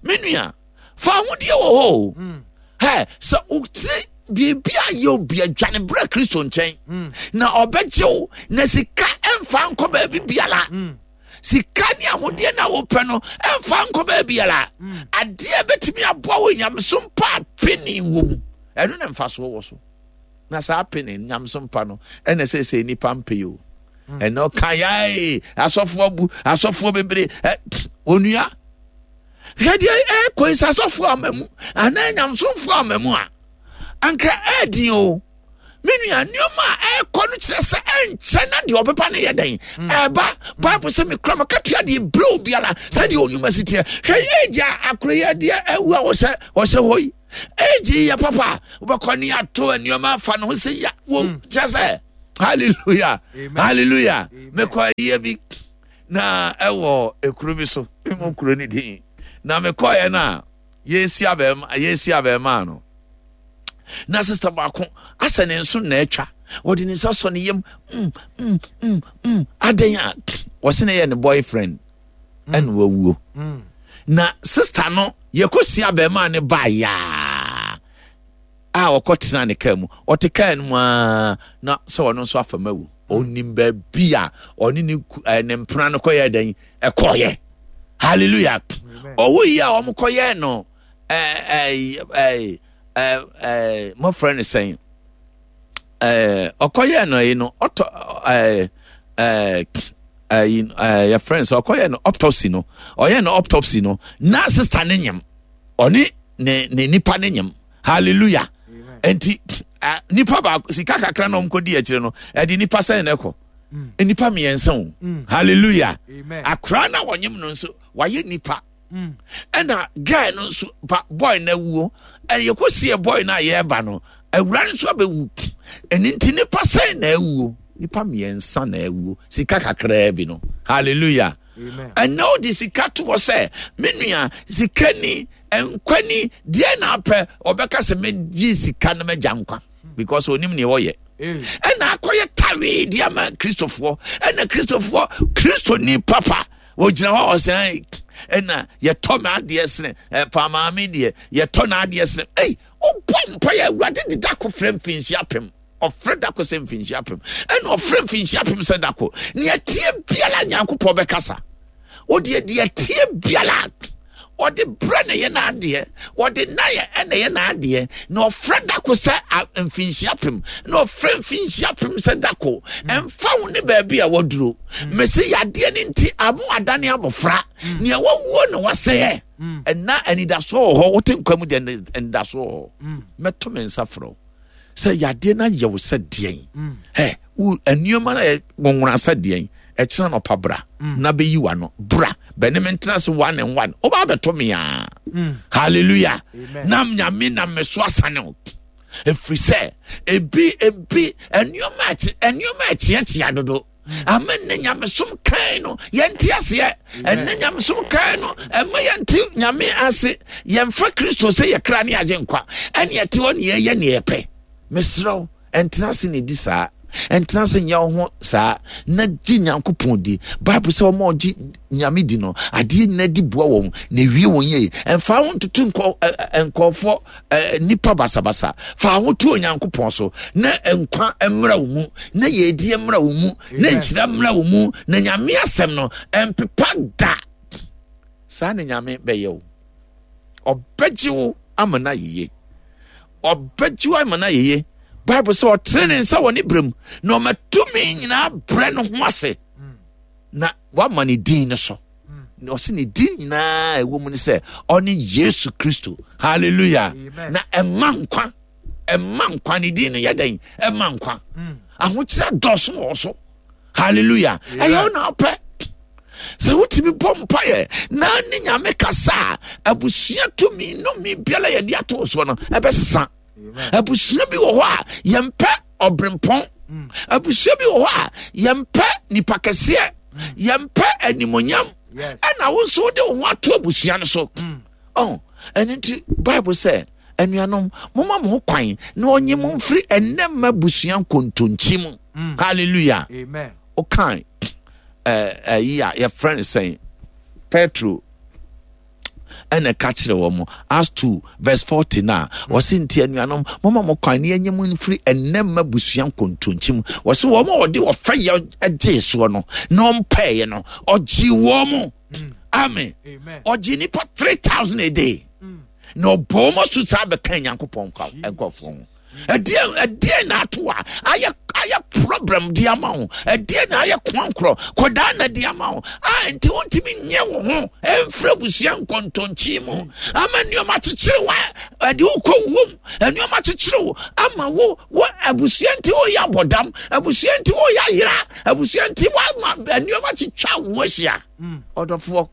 me nua fa ahodeɛ wɔ hɔ o mm. hɛ sɛ wotiri biribi a yɛ obi adwane berɛ kristo nkyɛn mm. na ɔbɛgye wo na sika ɛmfa nkɔ baabi biara mm. sika ne ahodeɛ na wopɛ no ɛmfa nkɔ baabi biara adeɛ bɛtumi aboa wo nyamesom pa pene wɔ mu ɛno na mfasoɔ wɔ so na saa pene nyamesom pa no ɛna sɛ sɛ nnipa mpɛ yi o hmm. ɛna ɔka yae asɔfoɔ bu asɔfoɔ bebree ɛ onua hwɛ deɛ ɛkɔ yi sɛ asɔfoɔ ama mu anaa nyamesomfoɔ ama mu a anka ɛɛdin o. Me nua, nneɛma a ɛrekɔ no kyerɛ sɛ ɛnkyɛ na deɛ ɔbɛba no yɛ dɛn? Mm. Ɛba. Bible sɛ mekura makatua deɛ berɛ obiara sɛdeɛ ɔnwuma si teɛ. Hwɛ age a akora yi adeɛ awu a wɔhyɛ wɔhyɛ hɔ yi. Age yi yɛ papa. Wobɛkɔ ne ato nneɛma afa ne ho sɛ ya wo mm. kyerɛ sɛ hallelujah. Hallelujah. Mekɔ ayie bi na ɛwɔ ekuro bi so. Memu kuro ne din. Na mekɔɛ no a yɛresi abɛɛma yɛresi abɛɛmaa no na sista baako asɛ ne nso na atwa wɔde ne nsa sɔ ne yam mm mm mm mm adan a wɔsi na yɛ ne boyfriend mm. ɛna wawuo mm. na sista no yɛkɔ si abɛɛmaa ne baa yaa a ɔkɔ tena ne kaa mu ɔte kaa no mu aa na sɛ ɔno nso afa ma wu ɔnim baabi a ɔne ne ne mpena no kɔyɛ dɛn ɛkɔɔyɛ hallelujah ɔwo yi a wɔn kɔyɛ no ɛɛ ɛɛ ɛɛ ɛɛ mɔfrɛ no sɛn ɛɛ ɔkɔyɛ no yi no ɔtɔ ɛɛ ɛɛ ɛyi ɛɛ yɛfrɛ no sɛ ɔkɔyɛ no autopsy no ɔyɛ no autopsy no na sista ne nyam ɔne ne ne nipa ne nyam hallelujah nti nipa baako sika kakra na wɔn kɔ di akyire no ɛde nipa sɛn na ɛkɔ mm. nipa mmiɛnsa o mm. hallelujah akora na wɔnyem no nso wayɛ nipa mm. ɛna guy no nso ba boy na awuo ɛna yɛkɔ sie boy no a yɛreba no awura no nso abɛwu ɛne nti nipa sɛn na awuo nipa mmiɛnsa na awuo sika kakraa bi no hallelujah ɛnna ɔde sika to hɔ sɛ me nua sika ni nkwa ni deɛ na apɛ ɔbɛka sɛ megye sika no magya nkwa because onim nea ɔyɛ ɛna akɔyɛ tawee de ama kristofoɔ ɛna kristofoɔ kristoni papa wɔgyina hɔ ɔsɛn ɛna yɛtɔ m'adeɛ sene ɛpa maame deɛ yɛtɔ n'adeɛ sene ei wobɔ mpa yɛ awurade de dako frɛ mfinhyia apem ɔfrɛ dako sɛ mfinhyia apem ɛna ɔfrɛ mfinhyia apem sɛ dako nea tie biara nyankopɔn bɛkasa wodeɛ deɛ tie biara ɔde brɛ na ɛyɛ n'adeɛ ɔde nayɛ ɛna ɛyɛ n'adeɛ na ɔfrɛ dako sɛ mfinhyia apem na ɔfrɛ mfinhyia apem sɛ dako mm. ɛmfa wo ne baabi a waduro mm. mesi yadeɛ no nti amo adane abɔfra mm. nea wawuo na wasɛeɛ ɛna anidasoɔ wɔ hɔ wote nkwa mu deɛ anidasoɔ wɔ hɔ mɛto me nsa frɛ wo sɛ yadeɛ no ayɛ wo sɛ deɛn mm. ɛ wo nneɛma no yɛ nwonwona sɛ deɛn ɛkyena nɔpa bra mm. na bɛyi wa no bra bɛne me ntena se one and one woba bɛto me a mm. hallelujah na nyame na me so asane wo ɛfiri sɛ ebi ebi nneɛma nneɛma ɛkyeakyea dodo ama nnɛ nyamesom kan no yɛnte aseɛ ɛnnɛ nyamesom kan no ɛma yɛnte nyame ase yɛmfa kristo sɛ yɛkra ne agye nkwa ɛne ɛte hɔ ne yɛyɛ ne yɛpɛ mesrɛ wo ɛntena ase ne di saa ɛntena ase nyɛ wo ho saa na gye nyankopɔn di bible sɛ wɔma ɔgye nyame di no adeɛ nyina di boa wɔn na ewie wɔn yie ɛmfa ho ntoto nkɔɔfoɔ nnipa basabasa fa ho to onyankopɔn so na nkwa mmra wo mu na yɛdie mmra wo mu na nhyira mmra wo mu na nyame asɛm no ɛmpepa da saa na nyame bɛyɛ wo ɔbɛgye wo ama no ayeye ɔbɛgye wo ama no ayeye bible sɛ ɔtene ne nsa wɔ ne berɛ mu na ɔma tumi nyinaa brɛ no ho ase na wama ne din no so na ɔsɛ ne din nyinaa ɛwɔ mu ne sɛ ɔne yesu kristo hallelujah na ɛma nkwa ɛma nkwa ne din no yɛ dɛn ɛma nkwa mm. ahokyerɛ dɔɔso wɔ so hallelujah ɛyɛ wo na ɔpɛ sɛ wotumi bɔ mpaeɛ na ne nyame kasa a abusua tumi nnome biara yɛde ato soɔ no ɛbɛsesa abusua bi wɔ hɔ a yɛmpɛ ɔbrempɔn mm. abusua bi wɔ hɔ a yɛmpɛ nipa kɛseɛ mm. yɛmpɛ animonyam ɛna wo nso wode wo ho ato abusua no so mm. oh, ɛno nti bible sɛ anuanom moma mo ho kwan na ɔnye mo mfiri ɛnnɛ mma abusua nkontonkyi mu hallelujah wokan ɛyi a yɛfrɛ no sɛn petro ɛna ɛka kyerɛ wɔn Acts 2 verse 40 na wɔsi nti anuanom moma mo kwan ne yɛnyɛ mo mfiri ɛnɛ mma busua nkontonkyi mu wɔsi wɔn a wɔde ɔfɛ yɛ gyee soɔ no na ɔmpɛɛyɛ no ɔgye wɔn mo mm. amen ɔgye nipa 3000 a day mm. na ɔbɔ wɔn so saa bɛka nyankopɔn nkɔfoɔ ho. Ɛdeɛn ɛdeɛn na ato a ayɛ ayɛ problem de ama wo? Ɛdeɛn na ayɛ koankorɔ kɔdaa na de ama wo? A nti wontumi nyɛ wo ho ɛmfiri abusua nkɔntɔnkyi mu ama nneɛma kyekyere wo ɛde wo kɔ wuom nneɛma kyekyere wo ama wo wo abusua nti woyɛ abɔdam abusua nti woyɛ ayera abusua nti woama nneɛma kyetwa wo ahyia. Ɔdɔfoɔ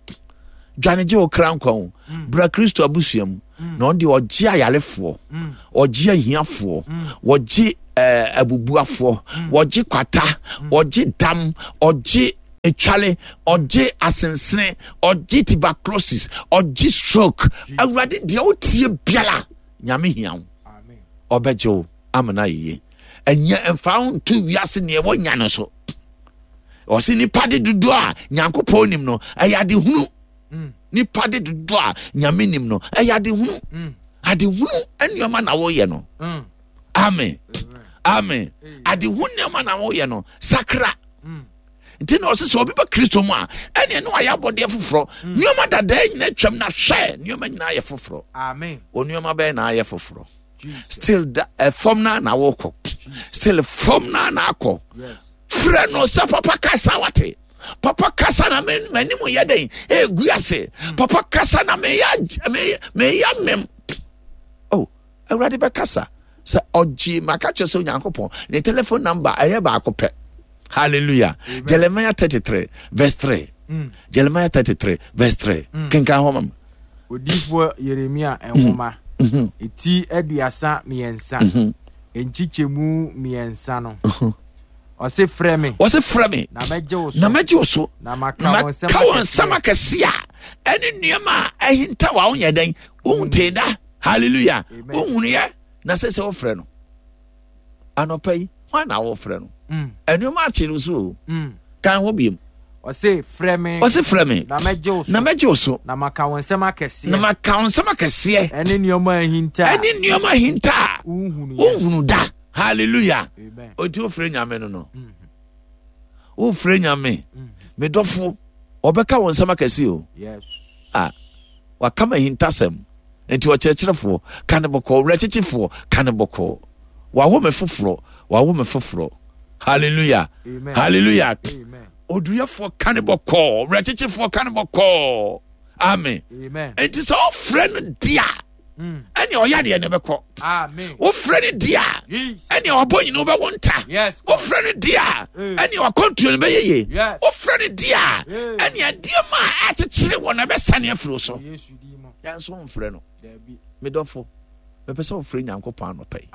dwane gye wo kra nkwa o. Bra Kristo abusua mu. Na ɔno deɛ ɔgye ayarefoɔ, ɔgye ahiafoɔ, wɔgye eh, abubuafoɔ, wɔgye kwata, ɔgye dam, ɔgye etwale, ɔgye asensene, ɔgye tuberculosis, ɔgye stroke. Awurade deɛ wotie biara, Nyame hia wo. Ɔbɛgye wo ama no ayɛ yie. Ɛnyɛ mfa wo nto wiase neɛ wɔnya no so. Ɔse nipa de dodoɔ a Nyankopɔn nim no, ɛyɛ adehunu. Nipa de dodoɔ a Nyame nim no, ɛyɛ adehunu. Adehunu nneɛma na woyɛ no. Amen. Amen. Adehu nneɛma na woyɛ no. Sakra. Nti na ɔsɛ sɛ obi ba Kristo mu a, ɛneɛ ne wayɛ abɔdeɛ foforɔ. Nneɛma dadaa nyinaa twam na hwɛ, nneɛma nyinaa yɛ foforɔ. Amen. Wo nneɛma bɛyɛ na ayɛ foforɔ. Still da fam na na wokɔ. Still fam na na akɔ. Frɛ no sɛ papa kasa wate. Papa kasa na m'anim yɛ dɛn egu ase. Papa kasa na meyɛ mem. Oh, Awurade bɛkasa sɛ ɔgye maka kyerɛ sɛ Onyankopɔn ne telephone number ɛyɛ baako pɛ. Hallelujah. Amen. Jeremiah 33 verse 3. Jeremiah 33 verse 3. Kenkan hɔ mama. Odiyifoɔ Yeremia nwoma, eti 33, nkyekyɛmu mmiɛnsa no. Ɔse frɛ me. Ɔse frɛ me. Na mɛgye wo so. Na mɛgye wo so. Na maka wɔn nsɛm akɛseɛ. Nsɛm akɛseɛ a ɛne nneɛma a ɛhinta wa wonyɛ dɛn wontee da. Hallelujah. Wohunuyɛ na sɛ sɛ wofrɛ no. Anɔpa yi hwan na wofrɛ no? Nneɛma akye no so o. Kan hɔ biem. Ɔse frɛ me. Ɔse frɛ me. Na mɛgye wo so. Na mɛgye wo so. Na maka wɔn nsɛm akɛseɛ. Na maka wɔn nsɛm akɛseɛ. Ɛne nneɛma ahinta. Ɛne nneɛma ahinta a. Wohunu da. Hallelujah. Oti wofrɛ Nyame no no. Wofrɛ Nyame. Me dɔfo, ɔbɛka wɔn nsɛm akɛse o. Yes. Ah, waka ma ahintasɛm. Nti ɔkyerɛkyerɛfoɔ, ka ne bɔkɔɔ. Werɛkyekyefoɔ, ka ne bɔkɔɔ. Wawo me foforɔ, wawo me foforɔ. Hallelujah. Amen. Hallelujah. Amen. Oduyɛfoɔ ka ne bɔkɔɔ. Werɛkyekyefoɔ ka ne bɔkɔɔ. Amen. Amen. Nti sɛ ɔfrɛ no di a, ɛne ɔyɛ adeɛ ne bɛkɔ. Wofrɛ no di a, ɛne ɔbɔ nyina wobɛwo nta. Wofrɛ no di a, ɛne wakɔntuo no bɛyɛ yie. Wofrɛ no di a, ɛne adeɛ ma a akyekyere wɔ no ɛbɛsane afiri wo so. Yɛn nso womfrɛ no. Medɔfo, mepɛ sɛ wofrɛ Nyankopɔn anɔpa yi,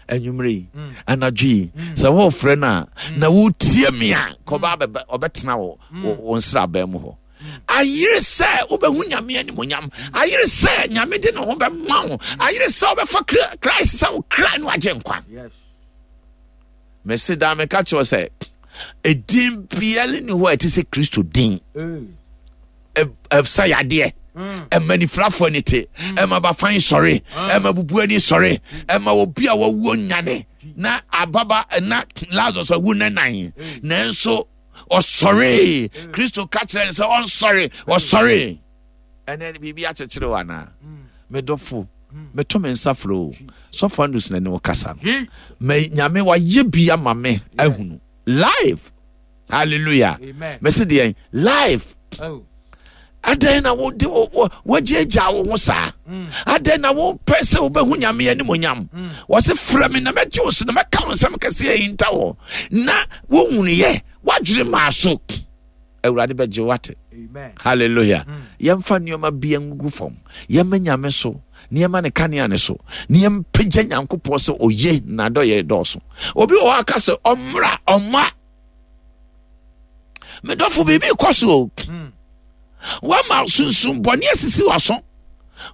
anwummerɛ yi, anadwo yi. Sɛ wofrɛ no a, na wotie me a, kɔba ɔbɛtena wo wo nsraban mu hɔ. Ayere sɛ wobɛhu Nyame animonyam. Ayere sɛ Nyame de ne ho bɛma wo. Ayere sɛ wobɛfa Christ sɛ wo kra no agye nkwa. Mese daa meka kyerɛ sɛ edin biara ni hɔ a ɛte sɛ Kristo din. Ɛsa yadeɛ, ɛma nifirafoɔ ani te, ɛma bafan sɔre, ɛma bubu ani sɔre, ɛma obi a wawuo nyane na ababa na Lazarus awu ne nan nanso ɔsɔree. Kristo ka kyerɛ no sɛ ɔnsɔre, ɔsɔree. Ɛnɛ biribi akyekyere wo anaa? Medɔfo, meto me nsa frɛ o. Sɔfo Andrews na ne wo kasa no. Ma Nyame wayɛ bi ama me ahunu live. Hallelujah. Mese deɛn? Live. Adɛn na wode woagyaagyaa wo ho saa? Adɛn na wopɛ sɛ wobɛhu Nyame animonyam? Wɔse frɛ me na mɛgye wo so na mɛka wo nsɛm kɛseɛ ahinta wɔ na wohunuyɛ woadwene maa so. Awurade bɛgye wo ate. Hallelujah. Yɛmfa nneɛma bi ngugu fam. Yɛmma Nyame so. Nneɛma ne kanea ne so. Na yɛmpagya Nyankopɔn sɛ oye na adɔyɛ dɔɔso. Obi wɔ hɔ aka sɛ ɔmmra ɔmma. Medɔfo biribi kɔ so o. Wama sunsum bɔne asisi w'aso.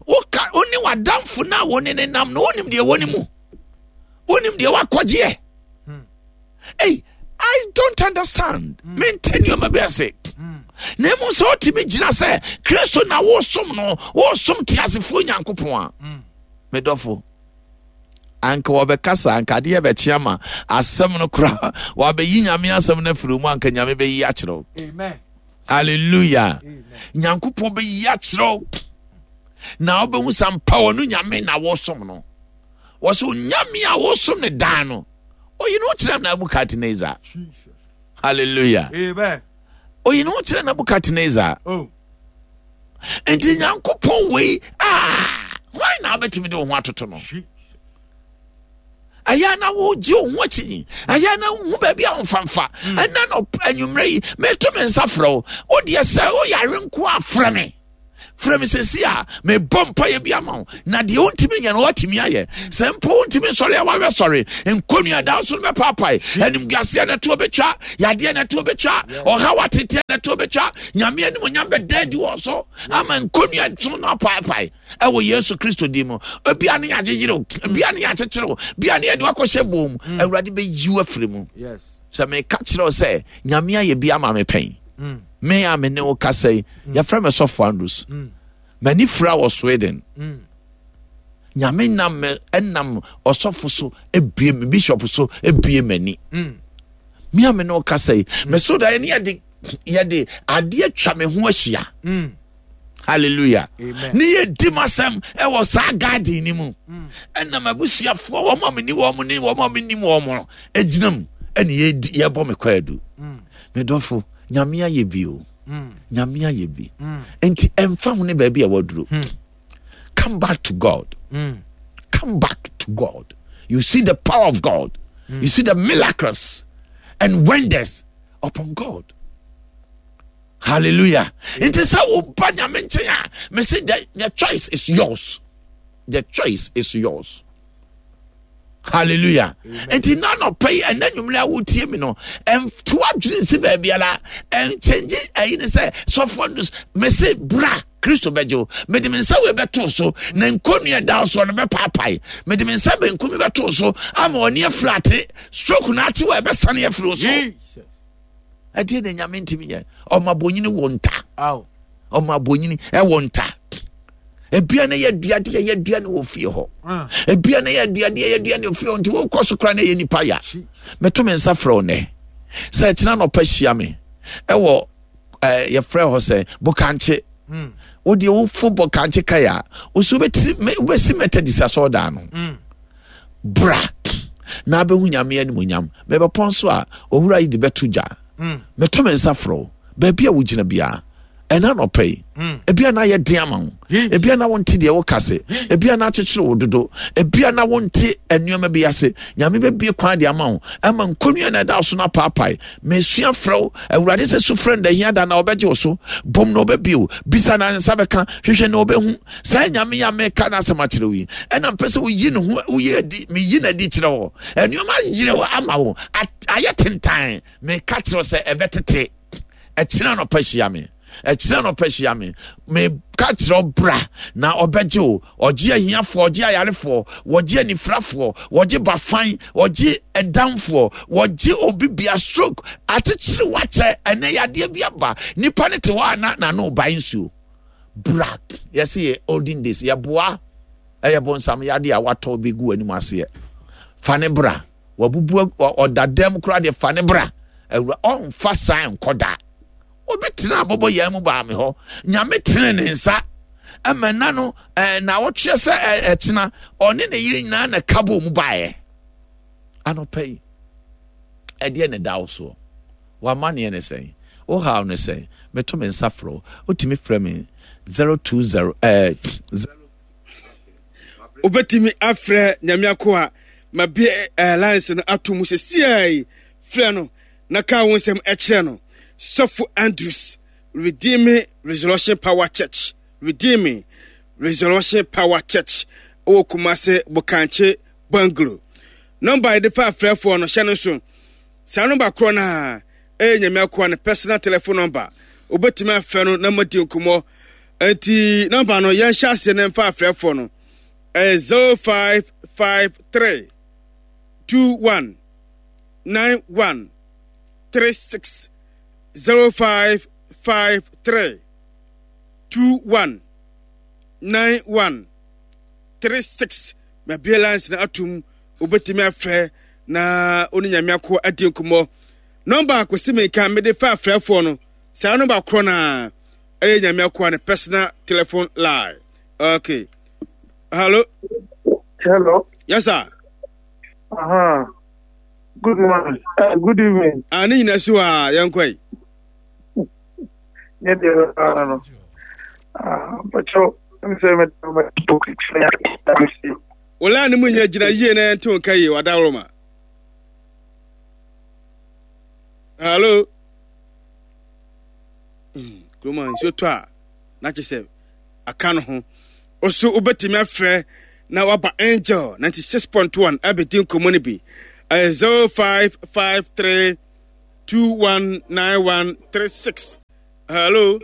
Woka wo ne w'adamfo no a wo ne ne nam no wonim deɛ wɔ ne mu. Wonim deɛ wakɔgyeɛ. Hey, I don't understand. Mente nneɛma bi ase. Na mmom sɛ wotumi gyina sɛ Kristo na wosom no, wosom teasefoɔ Nyankopɔn a, medɔfo, anka wɔbɛkasa, anka adeɛ bɛkye ama asɛm no koraa, wɔabɛyi Nyame asɛm no afiri mu, anka Nyame bɛyi akyerɛ wo. Amen. Hallelujah. Nyankopɔn bɛyi akyerɛ wo. Na wobɛhu sɛ ampa ɔno Nyame na wosom no. Wɔsɛ onyame a wosom ne daa no, oyi ne ho kyerɛ Nebukadnezar. Hallelujah. Amen. Oyi ne ho kyerɛ Nebukadnezar. Oh. Nti Nyankopɔn wei ah, hwan na wobɛtumi de wo ho atoto no? Ɛyɛ na wogye wo ho akyinyi, ɛyɛ na wohu baabi a womfamfa. Ɛnna no anwummerɛ yi, meto me nsa frɛ wo. Wodeɛ sɛ woyare nko a frɛ me. Frɛ me sɛsi a mebɔ mpaeɛ bi ama wo, na deɛ wontumi nyɛ no woatumi ayɛ. Sɛ mpo wontumi nsɔre a woawɛ sɔre, nkɔnnua da so no bɛpaapae, animguaseɛ no ɛtoɔ bɛtwa, yadeɛ no ɛtoɔ bɛtwa, ɔhaw ateteɛ no ɛtoɔ bɛtwa, Nyame animuonyam bɛda adi wɔ so ama nkɔnnua so no apaapae ɛwɔ Yesu Kristo din mu. Ebia ne yɛagyegyere wo, ebia ne yɛakyekyere wo, ebia ne yɛde wakɔhyɛ bɔn mu, Awurade bɛyi wo afiri mu. Sɛ meka kyerɛ wo sɛ Nyame ayɛ bi ama me pɛn, me a me ne wo kasa yi, yɛfrɛ me Sɔfo Andrews. M'ani fira wɔ Sweden. Nyame nam me nam ɔsɔfo so ebue me, bishop so ebue m'ani. Me a me ne wo kasa yi, me so da ne yɛde yɛde adeɛ twa me ho ahyia. Hallelujah. Ne yɛ di m'asɛm ɛwɔ saa garden ni mu. Ɛna m'abusuafoɔ wɔn a me ni wɔn ne wɔn a me nim wɔn no egyina mu ɛna yɛdi yɛbɔ me kwaadu. Me dɔfo, Nyame ayɛ bi o. Nyame ayɛ bi. Nti ɛmfa ho ne baabi a waduro. Come back to God. Come back to God. You see the power of God. You see the miracles and wonders upon God. Hallelujah. Nti sɛ woba Nyame nkyɛn a, mese the choice is yours. The choice is yours. Hallelujah. Nti na anɔpa yi ɛnɛ nwumere a wotie mi no, ɛnto adwene nsi baabiara, ɛnkyɛngye ɛyi ne sɛ sɔfoɔ no mese bra Kristo bɛgye wo. Mede me nsa wei bɛto so na nkonnua da soɔ no bɛpaapae. Mede me nsa benkum bɛto so ama ɔne afiri ate. Stroke no ate wɔ ɛbɛsane afiri wo so. Ɛdeɛ na Nyame ntumi nyɛ. Ɔma bonyini wɔ nta. Ɔma bonyini ɛwɔ nta. Ebia na yɛ aduadeɛ yɛ aduane wɔ fie hɔ. Ebia na yɛ aduadeɛ yɛ aduane wɔ fie hɔ. Nti wokɔ so koraa na ɛyɛ nipa ya. Meto me nsa frɛ wo nnɛ sɛ ɛkyena nɔpa hyia me ɛwɔ ɛɛ yɛfrɛ hɔ sɛ Bokankye. Wodeɛ wofo Bokankye kae a wosi wobɛsi Methodist asɔɔdan no. Bra na abɛhu Nyame animuonyam. Mebɛpɔn so a, owura yi de bɛto dwa. Meto me nsa frɛ wo, baabi a wogyina biara, ɛna anɔpa yi. Ebia na ayɛ den ama wo. Ebia na wonte deɛ woka se. Ebia na akyekyere wo dodo. Ebia na wonte nneɛma bi ase. Nyame bɛbie kwan de ama wo. Ɛma nkonnua na ɛda so no apaapae. Mesua frɛ wo, Awurade sɛ su frɛ no da hia da na ɔbɛgye wo so. Bom na ɔbɛbie wo. Bisa na nsa bɛka. Hwehwɛ na ɔbɛhu. Saa Nyame yi a meka n'asɛm akyerɛ wo yi, ɛna mpɛ sɛ woyi ne ho, woyi adi, meyi n'adi kyerɛ wo. Nneɛma ayere wo ama wo, ayɛ tentan. Meka kyerɛ wo sɛ ɛbɛtete. Ɛkyena anɔpa hyia me. Ɛkyena anɔpa hyia me. Meka kyerɛ wo bra na ɔbɛgye wo. Ɔgye ahiafoɔ, ɔgye ayarefoɔ, wɔgye anifirafoɔ, wɔgye bafan, wɔgye ɛdamfoɔ, wɔgye obi bia stroke akyekyere wakyɛ. Ɛnɛ yadeɛ bi aba. Nipa ne te hɔ a na n'ano bae nsuo. Bra yɛse yɛ olden days yɛboa ɛyɛ bonsam yade a watɔ bɛgu anim aseɛ fa ne bra wabubu ɔda dɛm koraa deɛ fa ne bra awura ɔmfa saa nkɔ da obi tena abɔbɔ yɛn mu baa me hɔ Nyame tene ne nsa ɛma nna no ɛɛ na ɔtweɛ sɛ ɛkyena ɔne ne yere nyinaa na kabo mu baeɛ anɔpa yi ɛdeɛ ne da wo soɔ. W'amanneɛ ne sɛn? Wo haw ne sɛn? Meto me nsa frɛ wo. Wotumi frɛ me 020 eh, 0. Wobɛtumi afrɛ Nyame akoa ma bie eh, lines no ato mu sesiaa yi. Frɛ no na ka wo nsɛm kyerɛ no. Sɔfo Andrews, Redeeming Resurrection Power Church, Redeeming Resurrection Power Church, ɛwɔ Kumase Bokankye Bungalow. Nɔmba a yɛde fa afrɛfoɔ no, hyɛ no nso. Saa nɔmba korɔ no ara ɛyɛ Nyame akoa no personal telephone number. Wobɛtumi afrɛ no na moadi nkɔmmɔ. Nti nɔmba no yɛnhyɛ aseɛ na mfa afrɛfoɔ no. Ɛyɛ 0553 21 91 36 0553 21 91 36. Mabue lines no atom. Wobɛtumi afrɛ na wo ne Nyame akoa adi nkɔmmɔ. Nɔmba a Kwesi Menka mede fa afrɛfoɔ no, saa nɔmba korɔ no ara ɛyɛ Nyame akoa ne personal telephone line. Okay. Hello. Hello. Yes sir. Uh-huh. Good morning. Good evening. Ah, ne nyina si hɔ a yɛnkɔ yi. Ne deɛ bɛba no. Ah, mpakyɛw, sɛ mɛ Wala ne mu nyɛ gyina yie na yɛnte wo nka yie wadaworoma. Hello. Kurom a nsuo tɔ a na kyerɛ sɛ aka no ho. Ɔso wobɛtumi afrɛ na waba Angel 96.1 abɛdi nkɔmmɔ no bi. Ɛyɛ 0553 219136. Hello.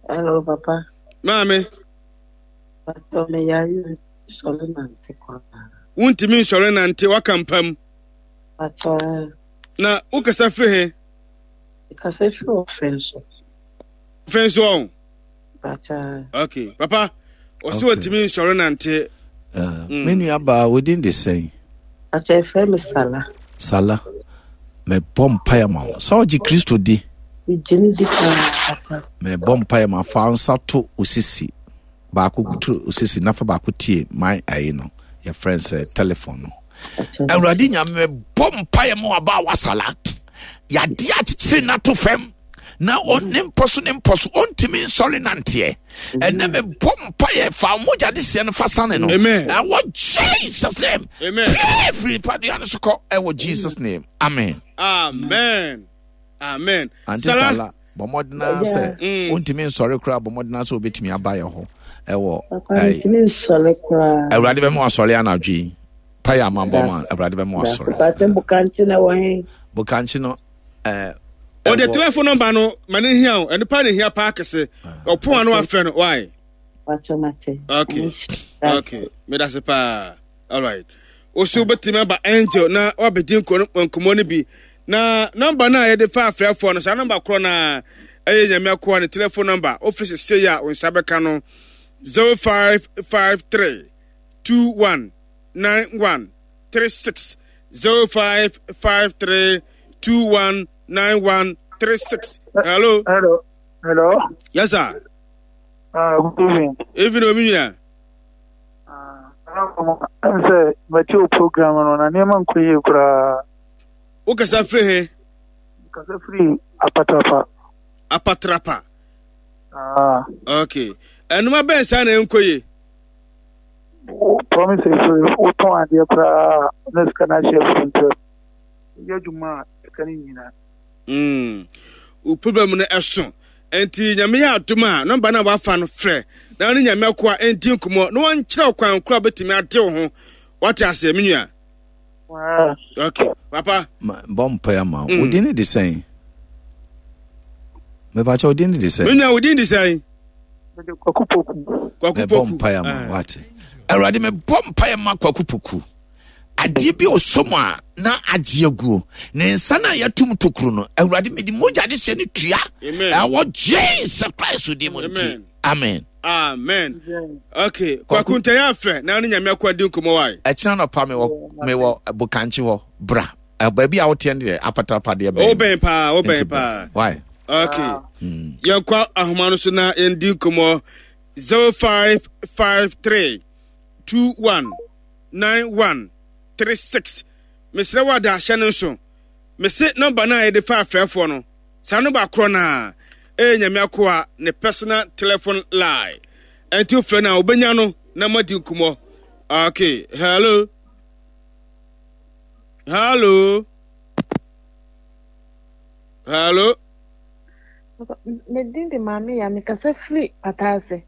Hello, Papa. Maame. Papa, me yare nsɔre nante koraa. Wontumi nsɔre nante waka mpam. Papa. Na wokasa firi he? Kasa firi ɔfɛ nso. Ɔfɛ nso ɔn. Papa. Okay, papa. Ɔsɛ wɔntumi nsɔre nante. Me nua baa wodin de sɛn? Papa ɛfrɛ me Sala. Sala. Mebɔ mpaeɛ ma wo. Sɛ ɔgye Kristo di. Megye ne di paa papa. Mebɔ mpaeɛ ma fa nsa to osisi. Baako to osisi na fa baako tie my ayi no. Yɛfrɛ no sɛ telephone no. Awurade Nyame mebɔ mpaeɛ ma waba a wasala. Yadeɛ akyekyere no ato fam na ne mpɔ so ne mpɔ so ɔntumi nsɔre nanteɛ. Ɛnɛ mebɔ mpaeɛ fa mogya de seɛ no fa sane no. Ɛwɔ Jesus name. Amen. Pie firi padua no so kɔ ɛwɔ Jesus name. Amen. Amen. Amen. Ante Sala bɔ mmɔden ara sɛ wontumi nsɔre koraa bɔ mmɔden ara sɛ wobɛtumi aba yɛ hɔ ɛwɔ Awurade bɛma wasɔre anadwo yi payɛ ama bɔ ma Awurade bɛma wasɔre. Bokankye no ɔde telephone number no ma ne hia o ɛno pa ne hia paa kɛse ɔpon ano afrɛ no why. Okay okay medase paa alright woso wobɛtumi aba angel na wabɛdi nkɔmmɔ no bi na nɔmba no a yɛde fa afrɛfoɔ no saa nɔmba korɔ no a ɛyɛ nyame akoa ne telephone nɔmba wofiri sesei a wo nsa bɛka no 0553 21 91 36 0553 21 91 36 hello hello hello yes sir good evening evening omi nua ɛm sɛ mɛte wo program no na nneɛma nkɔ yie koraa. Wokasa firi he? Kasa firi Apatrapa. Apatrapa. Ah. Okay. Ɛnoma bɛn saa na ɛnkɔ yie? Wo promise firi wotɔn adeɛ koraa na sika no ahyɛ afiri ntɛm. Woyɛ adwuma a sika no nyina. Mm. Wo problem no ɛso. Nti nyame yɛ adom a nɔmba no a wafa no frɛ na ne nyame akoa ndi nkɔmmɔ na wɔnkyerɛ kwan koro a bɛtumi ade wo ho. Wate aseɛ me nua? Okay, papa. Bɔ mpae ama wo. Wo din ne de sɛn? Mepakyɛ wo din ne de sɛn? Me nua wo din de sɛn? Mede Kwaku Poku. Kwaku Mebɔ Poku. mpae ama wo wate. Awurade mebɔ mpae ma Kwaku Poku. Adeɛ bi ɔsɔ mu a na agye aguo. Ne nsa no a yɛatum tokuro no, Awurade mede mogya de hyɛ ne tua. Amen. Ɛwɔ Jesus Christ din mu nti. Amen. Amen. Amen. Okay, Kwaku ntɛyɛ afɛ na ne nyame akɔ adi nkɔmmɔ wae. Ɛkyena nɔpa mewɔ mewɔ Bokankye hɔ bra. Baabi a woteɛ no deɛ apatrapa deɛ bɛn. Wobɛn paa, wobɛn paa. Why? Okay. Yɛnkɔ ahoma no so na yɛndi nkɔmmɔ 0553 21 91 36. Mesrɛ wo ada ahyɛ no nso. Mese nɔmba no a yɛde fa afrɛfoɔ no. Saa nɔmba korɔ no a ɛyɛ Nyame akoa ne personal telephone line. Ɛnti wofrɛ no a wobɛnya no na moadi nkɔmmɔ. Okay, hello. Hello. Hello. Me din de Maame ya mekasa firi Pataase.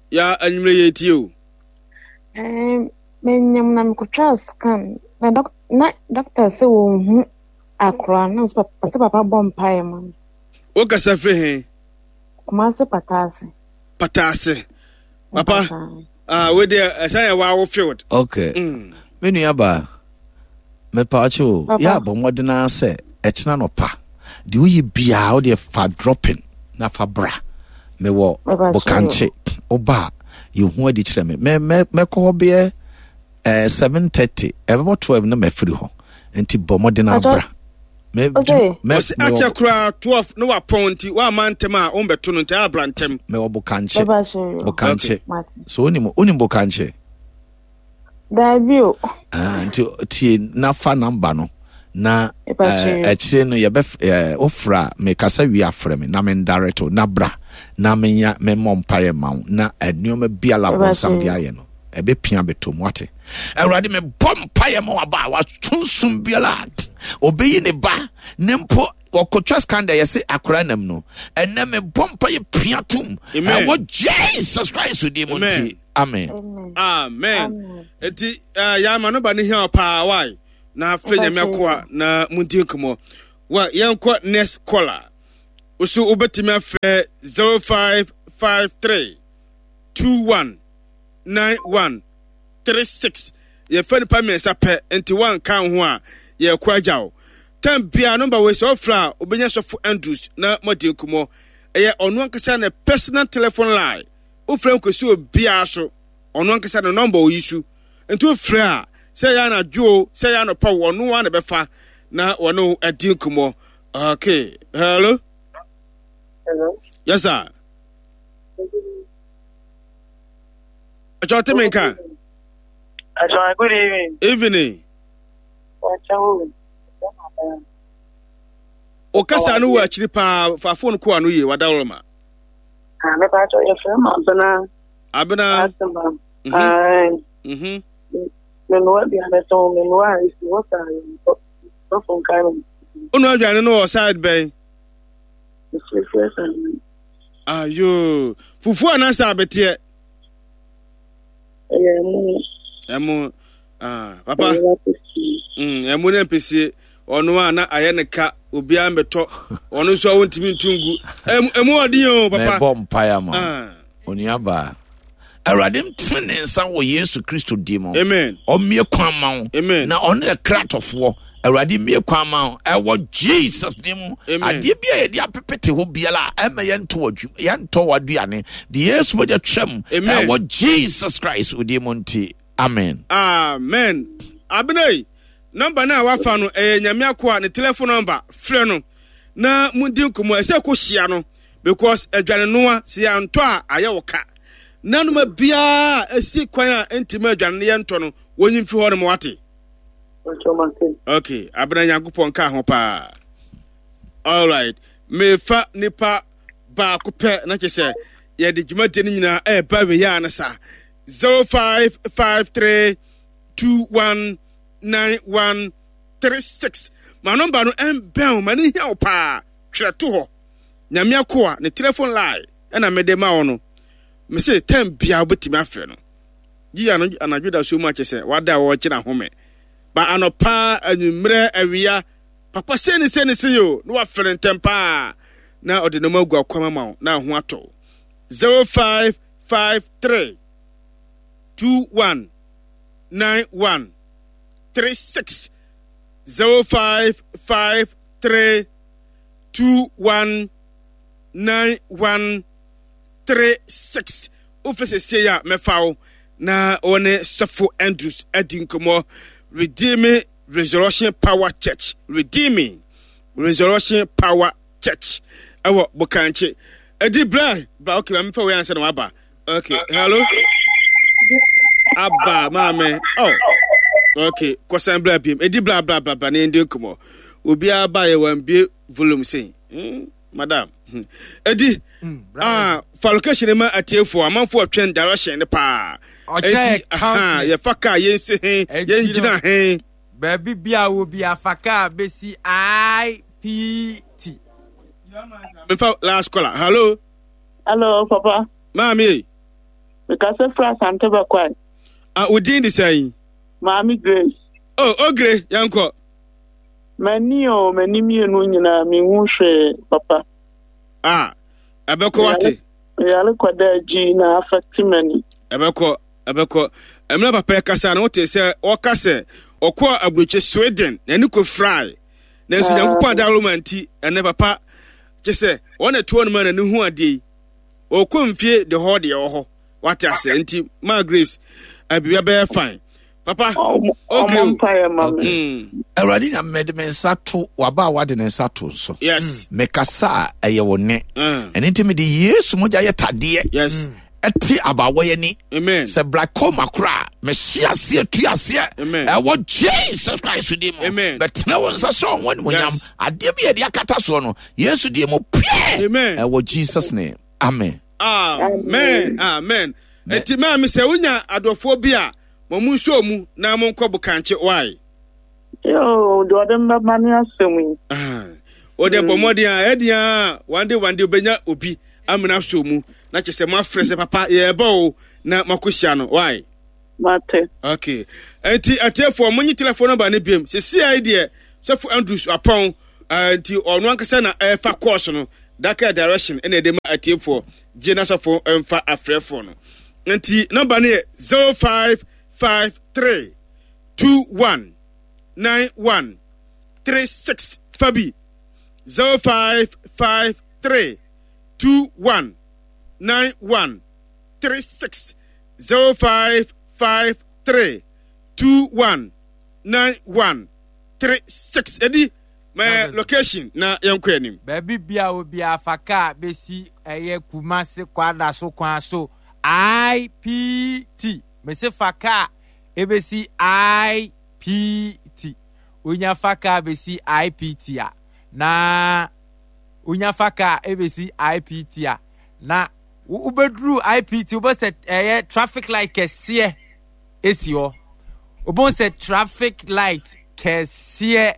Ya anwummerɛ yɛ tie o. Menyam na mekɔtwaa scan na dɔk na dɔkta sɛ wɔnhu akora na sɛ papa sɛ papa bɔ mpaeɛ ma me. Wokasa firi he? Kumase Pataase. Pataase. Papa, ah, wei deɛ ɛsan yɛ wawo field. Okay. Me nua baa, mepaakyɛ o, yɛ abɔ mmɔden ara sɛ ɛkyena nɔpa, deɛ woyɛ biara wo deɛ fa dropping na fa bra. Mewɔ Bokankye, woba a, yɛhu adi kyerɛ me. Mɛkɔ hɔ bɛyɛ 7:30, ɛbɛbɔ 12 na mafiri hɔ. Nti bɔ mmɔden abra. Ɔsi akyɛ koraa 12 na wapɔn nti wamma ntɛm a wombɛto no nti abra ntɛm. Mewɔ Bokankye. Bokankye. So wonim wonim Bokankye? Daabi o. Ah, nti tie na fa namba no na akyire no yɛbɛ wofrɛ a mekasa wie afrɛ me na mendirect wo na bra na menya memmɔ mpaeɛ ma wo na nneɛma biara bɔnsam de ayɛ no ɛbɛpia bɛtɔ mu wate awurade mebɔ mpaeɛ ma waba a wasonsum biara ɔbɛyi ne ba ne mpo ɔkɔtwa scandal yɛse akora nam no ɛnɛ mebɔ mpaeɛ pia tom ɛwɔ jesus christ din mu nti amen amen nti eh, yɛama no ba no hia paa wae na afei nyame akoa na monti nkɔmmɔ wa yɛnkɔ next caller wo so wobɛtumi afrɛ 0553 21 91 36 yɛfɛ nipa mmiɛnsa pɛ nti woanka wo ho a yɛkɔ agya wo tam biara nɔmba wei sɛ wofrɛ a wobɛnya sɔfo andrews na moadi nkɔmmɔ ɛyɛ ɔno ankasa ne personal telephone line wofrɛ nkɔsi obiara so ɔno ankasa ne nɔmba oyi so nti wofrɛ a sɛ ɛyɛ anadwo o sɛ ɛyɛ anɔpa o ɔno ara na ɛbɛfa na wɔne wo adi nkɔmmɔ okay hello hello yes sir ɛkyɛ ɔte me nka Akyɛ good evening. Evening. Wakyɛ wo. O kasa no wɔ akyiri paa fa phone ko ano yie wadaworo ma. Ah, me pa kyɛ yɛfrɛ m Abena. Abena. Asema. Mhm. Ae. Mhm. Menoa aduane tɔn menoa a esi hɔ saa yɛ sɔfo nkae me. Wonoa aduane no wɔ side bɛn? Mefirefire sa no. Ayo. Fufuo anaasɛ abeteɛ? Ɛyɛ ɛmo. Ɛmo. Ah, papa. Ɛmo ne mpesie. Ɔno a na ayɛ ne ka obiara mbɛtɔ ɔno nso a wɔntumi ntu ngu. Ɛmu ɔden o papa. Mɛbɔ mpaeɛ ma ah. onuabaa. Awurade ntene ne nsa wɔ Yesu Kristo din mu. Amen. Ɔmmie kwan ma wo. Amen. Na ɔno yɛ kratɔfoɔ. Awurade mmie kwan ma wo. Ɛwɔ Jesus din mu. Amen. Adeɛ bi a yɛde apepete hɔ biara a ɛma yɛntɔ yɛntɔ w'aduane. De Yesu mogya twam. Amen. Ɛwɔ Jesus Christ din mu nti. Amen. Amen. Abena nɔmba no a wafa no ɛyɛ Nyame akoa ne telephone number frɛ no na mundi nkɔmmɔ ɛsɛ kɔ hyia no because aduane noa sɛ yɛantɔ a ayɛ wo ka na noma biara ɛsi kwan a ɛntimi aduane no yɛntɔ no wɔnyi mfi hɔ no ma wate. Okay, abena Nyankopɔn ka ho paa. Alright, mefa nipa baako pɛ na kyɛ sɛ yɛde dwumadie no nyinaa ɛreba wei a no saa 0553 219136 ma nɔmba no ɛmbɛn wo ma no hia wo paa twerɛ to hɔ nyame akoa ne telephone line ɛna mede ma wo no mese tɛm bia wobɛtumi afrɛ no gyi anadwo da so mu akyɛ sɛ wada a wɔgyina home ba anɔpa anwummerɛ awia papa sei ne sei ne sei o na wafrɛ no ntɛm paa na ɔde nneɛma agu akwam ama wo na ho atɔ 0553 21 91 36 0553 21 91 36 wofɛ sɛsie a mɛfa wo na wɔne sɔfo andrews adi nkɔmmɔ redeeming resurrection power church redeeming resurrection power church ɛwɔ bokankye ɛdi bra bra okay maame fa wei ansa na waba okay hello aba maame oh okay kɔsan bra biem ɛdi bra bra bra bra na yɛn di nkɔmmɔ obiara ba yɛ wɔn bie volume sɛn hmm, madam hmm. ɛdi hmm, ah fa location ma atiefoɔ amanfoɔ twɛn direction ne paa ɔkyɛ yɛfa kaa yɛnsi he yɛngyina he Baabi biaa wɔ bia fa kaa bɛsi IPT. Mefa last caller. Hello. Hello, papa. Maame ei. Mekasa firi Asante Bɛkwae. Ah, wo din de sɛn? Maame Grace. Oh, Ogre, yɛnkɔ. M'ani o, m'ani mmienu nyinaa menhu hwee, papa. Ah, ɛbɛkɔ wate. Meyare kɔda agyi na affect m'ani. Ɛbɛkɔ. Ɛbɛkɔ. Mmerɛ papa yi kasa no, wote sɛ ɔka sɛ ɔkɔɔ aburokyi Sweden, n'ani kɔfirae. Nanso Nyankopɔn adaworoma nti, ɛnɛ papa kyɛ sɛ wɔn na ɛtoɔ no ma n'ani hu adeɛ yi. Ɔkɔ mfie de hɔ deɛ wɔ hɔ. Wate aseɛ nti, ma Grace, abiribi bɛyɛ fine. Papa, okay. Okay. Awurade nyame mede me nsa to waba a wade ne nsa to nso. Yes. Mekasa a ɛyɛ wo ne. Ɛno nti mede Yesu mogya yɛ tadeɛ. Yes. Ɛte abaawa yi ani. Amen. Sɛ glaucoma koraa mɛhye aseɛ tu aseɛ. Amen. Ɛwɔ Jesus Christ din mu. Amen. Bɛtena wo nsa hyɛ wɔn animuonyam. Yes. Adeɛ bi a yɛde akata soɔ no, Yesu din mu pue. Amen. Ɛwɔ Jesus name. Amen. Amen. Amen. Enti maame sɛ wonya adɔfoɔ bi a ma mu nsuo mu na monkɔ bokankye why? Yoo, deɛ ɔde mbɛma ne asɛm yi. Wode bɔ mmɔden a ɛdeɛ a wande wande wobɛnya obi amena so mu na kyɛ sɛ moafrɛ sɛ papa yɛɛbɔ o na moakɔhyia no why? Mate. Okay. Enti atiefoɔ monye telephone number no biom. Sesia yi deɛ sɔfo Andrews apɔn nti ɔno ankasa na ɛfa course no daka direction ɛna ɛde ma atiefoɔ gye na sɔfo mfa afrɛfoɔ no. Nti number no yɛ 0553 21 91 36 fa bi 0553 21 91 36 0553 21 91 36 ɛdi mɛ location na yɛnkɔ anim. Baabi bia obiara fa kaa bɛsi ɛyɛ Kumasi Kwadaso kwan so IPT mese fa kaa ɛbɛsi IPT wonya fa kaa bɛsi IPT a na wonya fa kaa ɛbɛsi IPT a na wobɛduru IPT wobɛ sɛ ɛyɛ traffic light kɛseɛ ɛsi hɔ wobɛhu sɛ traffic light kɛseɛ.